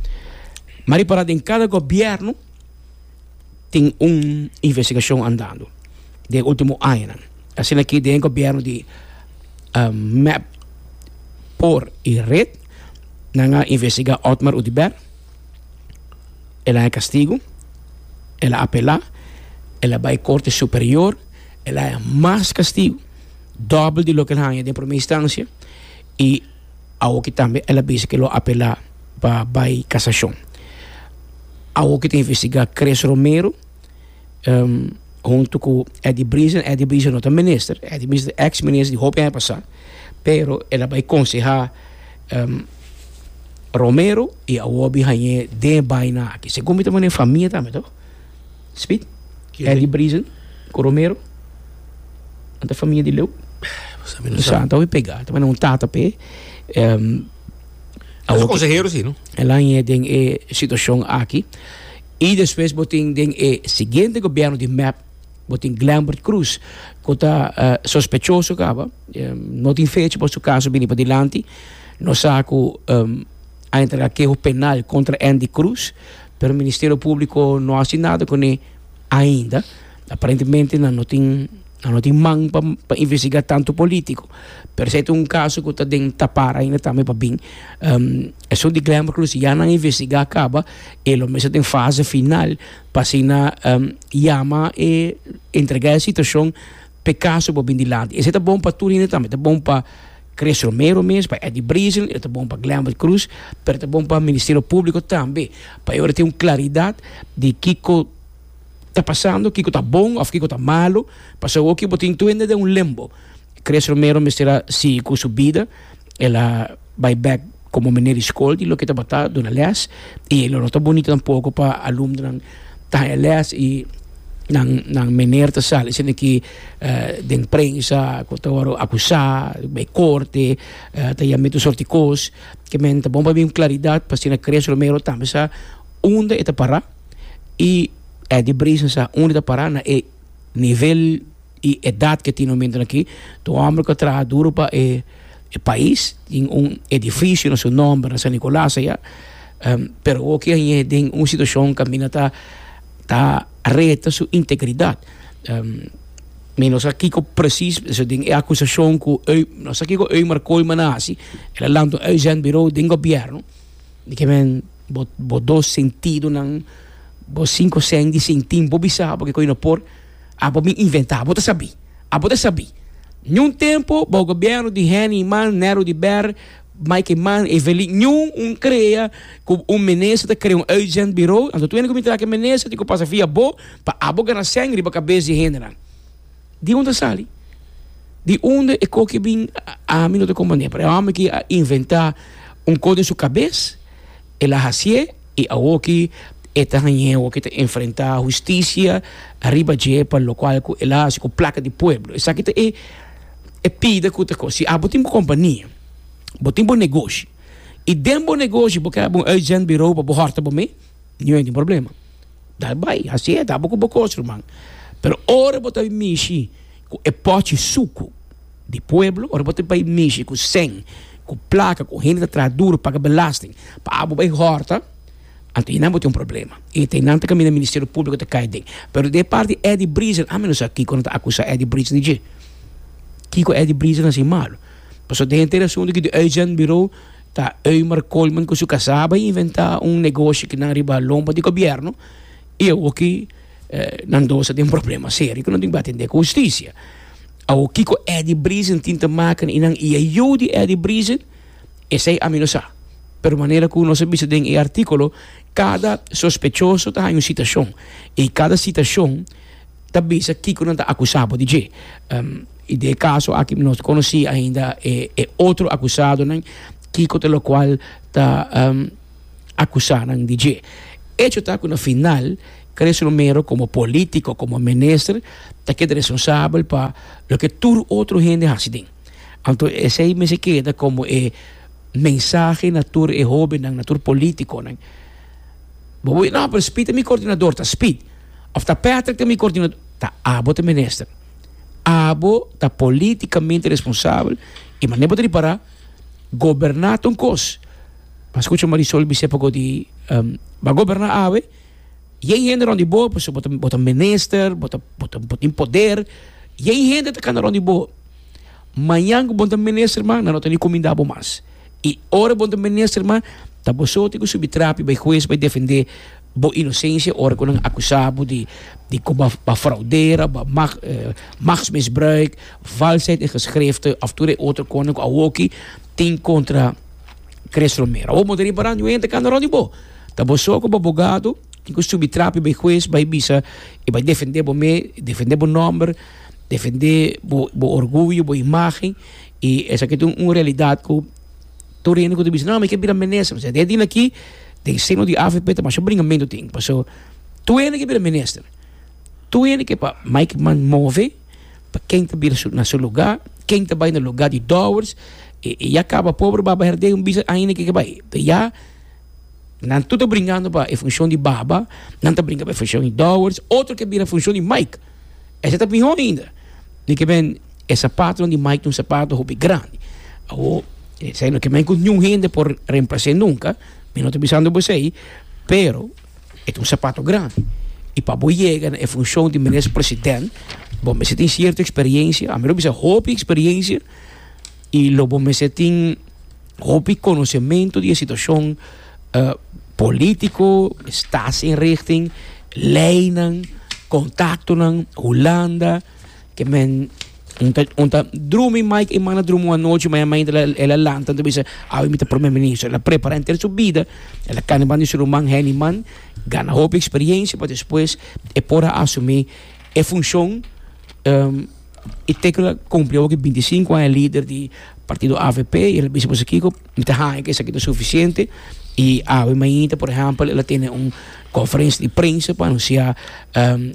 maripara den cada gobierno tin un investigacion andando den ultimo añanan. Asina aki den gobierno di M E P por y red nan a investiga Otmar Oduber, el a haña castigo, el a apela, el a bay Corte Superior, el a haña mas castigo, dobbel di loke el haña den primera instancia, y awoki tambe el a bisa ke lo apela pa bay casacion. Awoki ta investiga Chris Romero, um, hunto cu Eddie Briesen. Eddie Briesen no ta minister, Eddie Briesen ta ex-minister di hopi aña pasa, pero el a bay conseha, um, Romero y awobi hañe den baina aki. Segun mi ta mane familia tambe, toch? Speed? Quién? Eddie Briesen cu Romero. Anta familia di Leo. Pues a mí no Sa, sabe. anta hoy pega. Anta mane un tata pe. Um, Es awoki consejero, sí, no? El hañe den e situacion aki. Y después botin den e siguiente gobierno di M E P, botin Glenbert Croes, que ta, eh, sospechoso caba, eh, no tin fecha por su caso bini pa dilanti, no sa cu, um, a entregar quejo penal contra Endy Croes, pero el Ministerio Público no hace nada con él ainda. Aparentemente no, no tin, no, no tin man pa, pa investigar tanto político. Pero se un caso que está den tapar ainda también pa bin. Um, eso de Glenbert Croes ya no investiga acaba, e lo mesmo en fase final, pa sina, um, llama e entregar a situación pe caso pa bin dilante. Ese ta bom pa Turina también, ta bom pa Chris Romero mes, pa Eddie Briesen, ta bom pa Glenbert Croes, pero ta bom pa Ministerio Público también. Pa ahora tem un claridad de kiko ta pasando, kiko ta bom of kiko ta malo, pasó que botin tu ende de un limbo. Chris Romero me será si con su vida, ela vai back como meneer de school, di lo que ta bata duna les, y lo no ta bonito tampoco pa alumno ta les y nan, nan meneer te sal, sino que, eh, den prensa, ko ta waro acusa, bij corte, eh, ta yamito sorticos, que men ta bomba bim claridad, pa sina Chris Romero tambe sa unda eta para, y Eddie Briesen sa unda eta para na e nivel y edad que tiene momento aquí, tu hombre que trabaja duro pa e, e país, tiene un edificio na su nombre, na San Nicolás allá, um, pero o que hay den una situación camina ta, ta reta su integridad. Um, mi no sa kiko precies, so ding e acusación ku eu, no sa kiko Eumar Koolman hasi, el a lanta un uitzendbureau den gobierno, di ke men bo, bo dos sentido nan, bo cinco cent di centim, bo bisa, porque koi no por, a bo mi inventa, bo ta sabi, a bo ta sabi. Ni un tempo, bo gobierno di Henny Man, Nero di Ber, Mike Eman, Evelyn, ni un crea, ku un minister te crea un uitzendbureau, anto tu ene ku mi trake minister, di ku pasa via bo, pa abo gana sangre riba cabeza di hende nan. Di onde sali? Di onde e koke bin a, a mi no te comprende, pero a mi ki a inventa un code in su cabeza, e la hacie, e a oki, e ta hanye, o ki te enfrenta justicia, arriba je, pa lo cual ku el hace ku placa di pueblo. Esaki te e, e pide ku te ko. Si abo tin compania, bo tin bo negoshi, e den bo negoshi, bo kaya bo uitzendbureau, bo harta bo me, ni un problema. Dal bai, así é, dá bo ku bo kos, ruman. Pero ora bo ta mishi ku e pote suco di pueblo, ora bo ta bai mishi ku sen, ku placa, ku gente ta traha duro, paga belasting, pa abo bai horta, anto aí não tem um problema. E tem nada que o Ministério Público te cai dentro. Pero de parte Eddie Briesen, a menos aqui quando tá acusa Eddie Briesen de Kiko Eddie Briesen assim malo. Passou de inteira assunto que de uitzendbureau tá Eumar Koolman com sua casaba e inventar um negócio que não riba lomba de governo. E eu aqui, eh, não dou tem um problema sério que não tem que atender com justiça. Ao Kiko Eddie Briesen tinta maken e não e eu de Eddie Briesen Esei ami no sa. Pero manera ku nos a bisa den e artíkulo, kada sospechoso ta haña un sitashon i kada sitashon ta bisa kiko nan ta akusá bo di dje. I den e kaso aki mi no ta konosí ainda e e otro akusadonan kiko ta lokual ta akusá nan di dje. Echo ta ku na final Chris Romero komo polítiko, komo minister ta keda responsabel pa loke tur otro hende hasi den. Anto esei mester keda komo e mensahe na tur e hóbennan, na tur polítikonan. Bo bo no, pero Speed ta mi koordinador, ta Speed. Òf ta Patrick ta mi koordinador, ta abo ta minister. Abo ta polítikamente responsabel i manera bo ta ripará, goberná ta un kos. Bo a skucha Marisol bis'é poko di bo a goberná awe, yen hende rònt di bo, pasobra bo ta bo ta minister, bo ta bo ta bo tin poder, yen hende ta kana rònt di bo. Mañan ku bo no ta minister mas, nan no ta ni kumindá bo mas. I ora bo no ta minister mas, ta bo so tin ku subi trapi bai hues bai defendé bo inosensia ora ku nan akusá bo di di ku bo a fraudera, bo a machtsmisbruik, valsheid in geschriften òf tur e otro konan ku awoki tin kontra Chris Romero. Awor bo ta ripará niun hende ta kanda rònt di bo. Ta bo so ku bo abogado tin ku subi trapi bai hues bai bisa i bai defendé bo mes, defendé bo nòmber. Defendé bo bo orguyo, bo imagen y esaki ta un realidad cu tur hende cu ta bisa no mi ke bira minister, pasobra den dina aki den seno di avp ta masha bringamento tin pasobra tur hende ke bira minister, tur hende ke pa Mike Eman move pa ken ta bira na su lugar, ken ta bay na lugar di Dowers y ya caba pober Baba Herdé un bisa ainda ke ke bay ya nan tur ta bringando pa e funcion di Baba, nan ta bringa pa e funcion di Dowers, otro ke bira funcion di Mike. Esei ta mihó ainda. Mi ke men e sapatonan di Mike ta un sapato hopi grandi. Awor, esei no ke men ku niun hende por remplas'é nunka, mi no ta bisando bo esei, pero e ta un sapato grandi. I pa bo yega na e funshon di minister president, bo mester tin sierto eksperensia, ami lo bisa hopi eksperensia, i lo bo mester tin hopi konosementu di e situashon polítiko, staatsinrichting, leinan. Contactonan, Hulanda, ke men un ta un ta drumi Mike Eman a drumi un anochi mañana mainta el a lanta ta bisa awe mi ta prome minister el a prepara henter su bida el a cana banda di su ruman Henny Man gana hopi experiencia pa despues e por a asumi e funcion y te cu el a cumpli awo ki binti sinku aña lider di partido avp y el a bisa boso kico mi ta haña cu esaki ta suficiente y awe mainta por ehempel el a tene un conferencia di prensa pa anuncia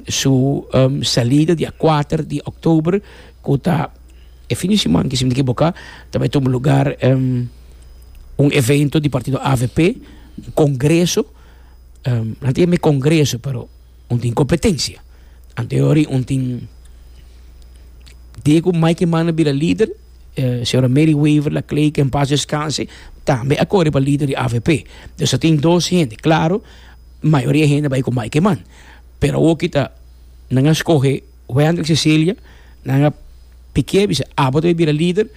su salida dia kuater di october cu ta e fin di siman si mi ta ekiboca ta bay tuma lugar un evento di partido avp un congreso nan ta yama e congreso pero un tin competencia anteori un tin dia cu Mike Eman a bira lider señora Mary Wever Laclay que en paz descanse tambe a core pa lider di avp dus a tin dos hende claro mayoria hende bai ku Mike Eman pero awor kita nan a skohe Wendrick Cecilia nan a pikié bisa abo ta bai bira lider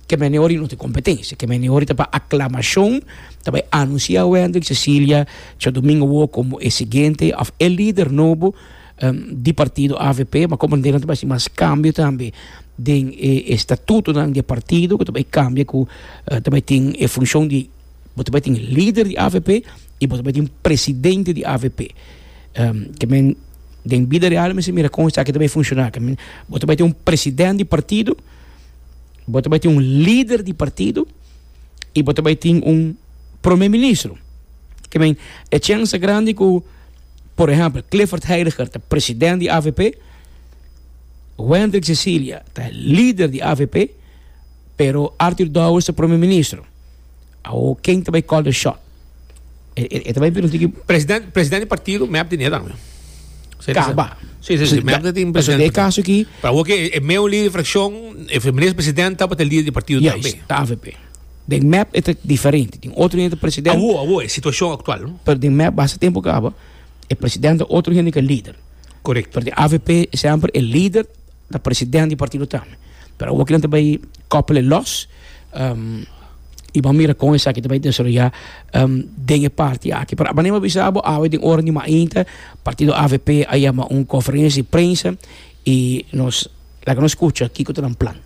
ke mene ora no tin kompetensia ke mene ora ta pa aklamashon ta bai anunsia Wendrick Cecilia djadumingo awor komo e siguiente òf e lider nobo di partido avp ma komo nan ta bai hasi mas kambio tambe den e estatutonan di e partido ku ta bai kambia ku ta bai tin e funshon di Bo ta bai tin lider di avp y bo ta bai tin presidente di avp. Ke men den bida real mester mira kon esaki ta bai funciona. Ke men bo ta bai tin un president di partido, bo ta bai tin un lider di partido y bo ta bai tin un prome ministro. Ke men e chance grandi ku por ehempel Clifford Heiliger ta president di avp, Wendrick Cecilia ta lider di avp, pero Arthur Dowers ta prome ministro. Awo ken ta bai call the shot? E, e, e ta bai bira un tiki. President, president di partido mep tin tambe. Caba. Sí, sí, sí, mep tin president. Den e caso aki. Pero awo ke e meu lider di fraccion, e minister president tabata lider di partido tambe. Juist, ta avp. Den mep e ta diferente. Tin otro hende ta president. Awo, awo, e situacion actual, no? Pero den mep basta tempo caba, e president ta otro hende ke lider. Correcto. Pero den avp semper e lider ta president di partido tambe. Pero awo kinan ta bai koppel e los. Um, i bo a mira kon esaki ta bai desaroyá den e parti aki. Pero manera mi a bisa bo awe den ora di mainta partido avp a yama un konferensia di prensa i nos laga nos skucha kiko ta nan plan.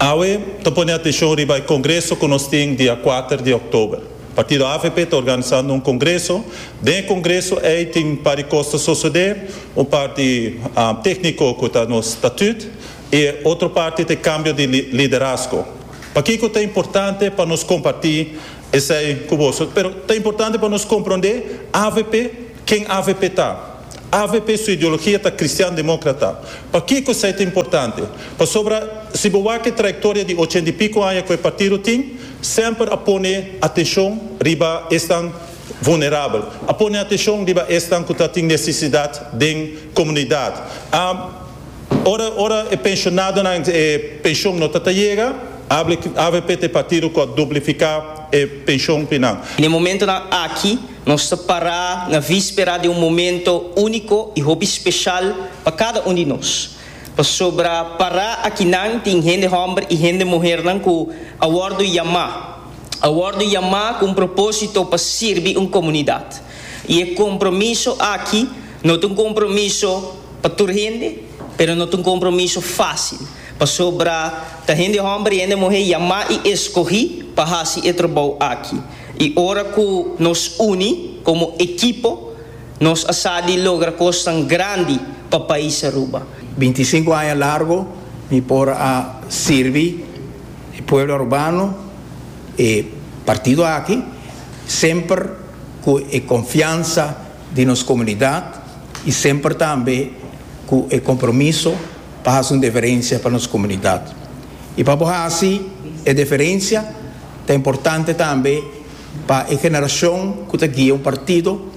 Awe ta pone atencion riba e congreso cu nos tin dia kuater di october. Partido A V P ta organisando un congreso. Den e congreso ey tin un par di cos ta sucede, un parti uh, tecnico cu ta nos statuut y otro parti ta cambio di liderazgo. Pakico ta importante pa nos comparti esey cu bo? Pero ta importante pa nos comprende A V P, ken A V P ta. A V P su ideologia ta cristian democrata. Pakico esey ta importante? Pasobra si bo wak e trayectoria di ochenta y pico aña cu e partido tin, semper a pone atencion riba esnan vulnerabel, a pone atencion riba esnan cu tin necesidad den comunidad. Um, ora, ora e pensionadonan e pensioen no ta yega, A V P ta e partido cu a duplica e pensioen final. Na e momento aki, nos ta para na vispera di un momento unico y hopi special pa cada un di nos. Pasobra para akinan tin hende homber y hende muher cu a wordo yama. A wordo yama cu un proposito pa sirbi un comunidad. Y e compromiso aki no ta un compromiso pa tur hende, pero no ta un compromiso facil. Pasobra ta hende homber y hende muher yama y escogi pa haci e trabou aki. Y ora cu nos uni como ekipo, nos sa di logra cos grandi pa pais Aruba. binticinco aña largo mi por a sirbi e pueblo arubano y partido aki, semper cu e confiansa di nos comunidad y semper tambe cu e compromiso pa haci un diferencia pa nos comunidad. Y pa haci e diferencia, ta importante tambe pa e generacion cu ta guia un partido,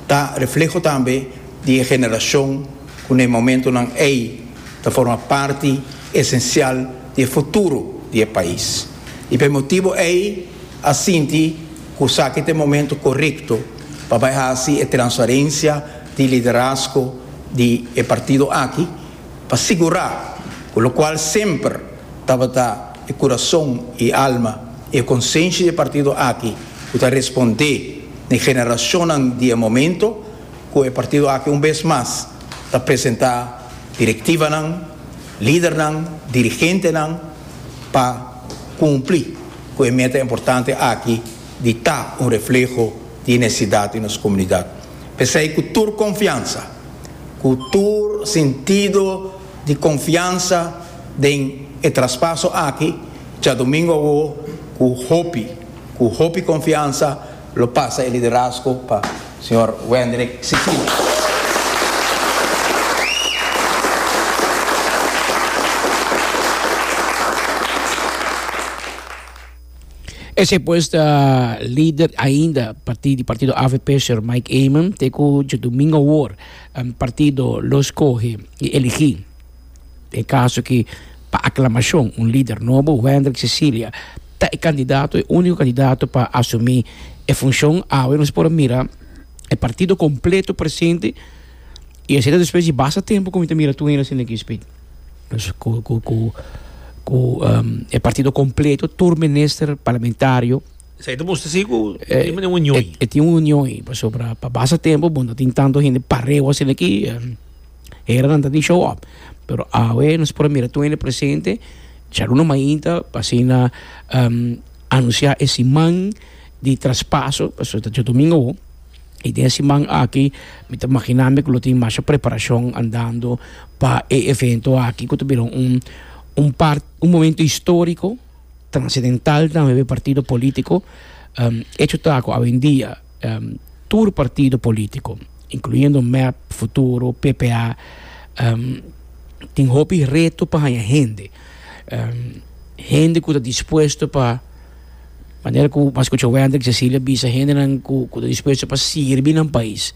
ta refleho tambe di generacion cu na e momentonan ey ta forma parti esencial di futuro di e pais. Y pa e motibo ey a sinti cu esaki ta e momento corecto pa haci e transferencia di liderazgo di e partido aki, pa sigura, cu locual semper tabata e curason y alma y consciensia di e partido aki, cu ta responde na generacion di momento, cu e partido aki un bes mas ta presenta directivanan, lidernan, dirigentenan, pa cumpli cu e meta importante aki di ta un refleho di necesidad den nos comunidad. P'esey cu tur confiansa, cu tur sentido di confiansa den e traspaso aki, diadomingo cu hopi, cu hopi confiansa, lo pasa e liderazgo pa señor Wendrick Cecilia. Esey pues ta lider ainda partido partido A V P, señor Mike Eman, te cu diadomingo awor un partido lo scoge y eligi den caso cu pa aclamacion un lider nobo. Wendrick Cecilia ta e candidato, e unico candidato pa asumi e funcion. Awe nos por mira e partido completo presente y asina despues di basta tempo cu mira tur asina aki speed. Dus cu cu cu cu um, e partido completo, tur minister parlamentario. Esey ta mustra si cu Eh, tin un union. E, e tin un union ey, pasobra pa basta tempo, bon, no tin tanto hende pareu asina aki, um, era nan tin show up. Pero awe nos por mira tur hende presente, djaluna mainta, pa asina um, anuncia e siman di traspaso, pasobra ta diadomingo, y den e siman aki, mi ta imagina cu lo tin mas preparacion andando pa e evento aki, cu ta bira un un par, un momento historico, trascendental tambe pa partido politico. Um, hecho ta cu hoy en dia, um, tur partido politico, incluyendo M E P, Futuro, P P A, um, tin hopi reto pa haya hende. Um, hende cu ta dispuesto pa manera cu m'a scucha Wendrick Cecilia bisa, hendenan cu cu ta dispuesto pa sirbi nan pais.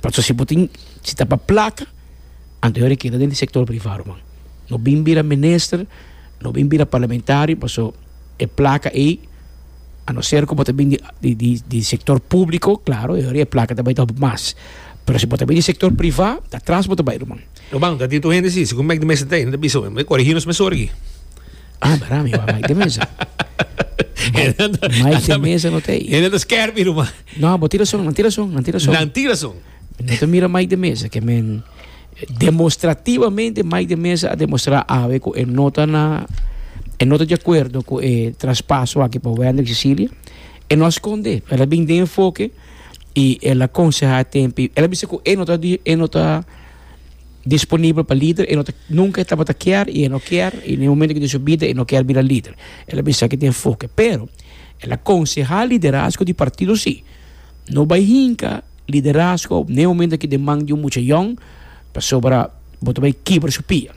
Pasobra si bo tin si ta pa placa, anto e keda den sector priva, man. No bin bira minister, no bin bira parlamentario, paso e placa ey, a no ser cu bo ta bin di, di, di, di sector publico, claro, e placa tambe ta mas. Pero si bo ta bin di sector priva, ta atras bo ta bay, man. No bang, dat dito hende si, segun Mike de Meza ta, bisa, me corrigi nos mesora aki. Ah, barami, Mike de Meza. Mike de Meza no t'ey. Hende ta skerpi, ruman. No, bo tin rason, nan tin rason, nan tin rason. Nan tin rason. No ta mira Mike de Meza, kiermen demostrativamente Mike de Meza a demostra awe cu e no ta na E no ta di akuerdo ku e traspaso aki pa Wendrick Cecilia. E no a skonde. El a bin den Enfoke i el a konsehá tempu. El a bisa ku e no ta e no ta disponibel pa lider, e no ta nunka e tabata kier i e no kier i den momento aki di su bida e no kier bira lider. El a bisa aki den Enfoke. Pero el a konsehá liderazgo di partido si. No bai hinka liderazgo n'e momento aki den man di un mucha yòn pasobra bo ta bai kibra su pia.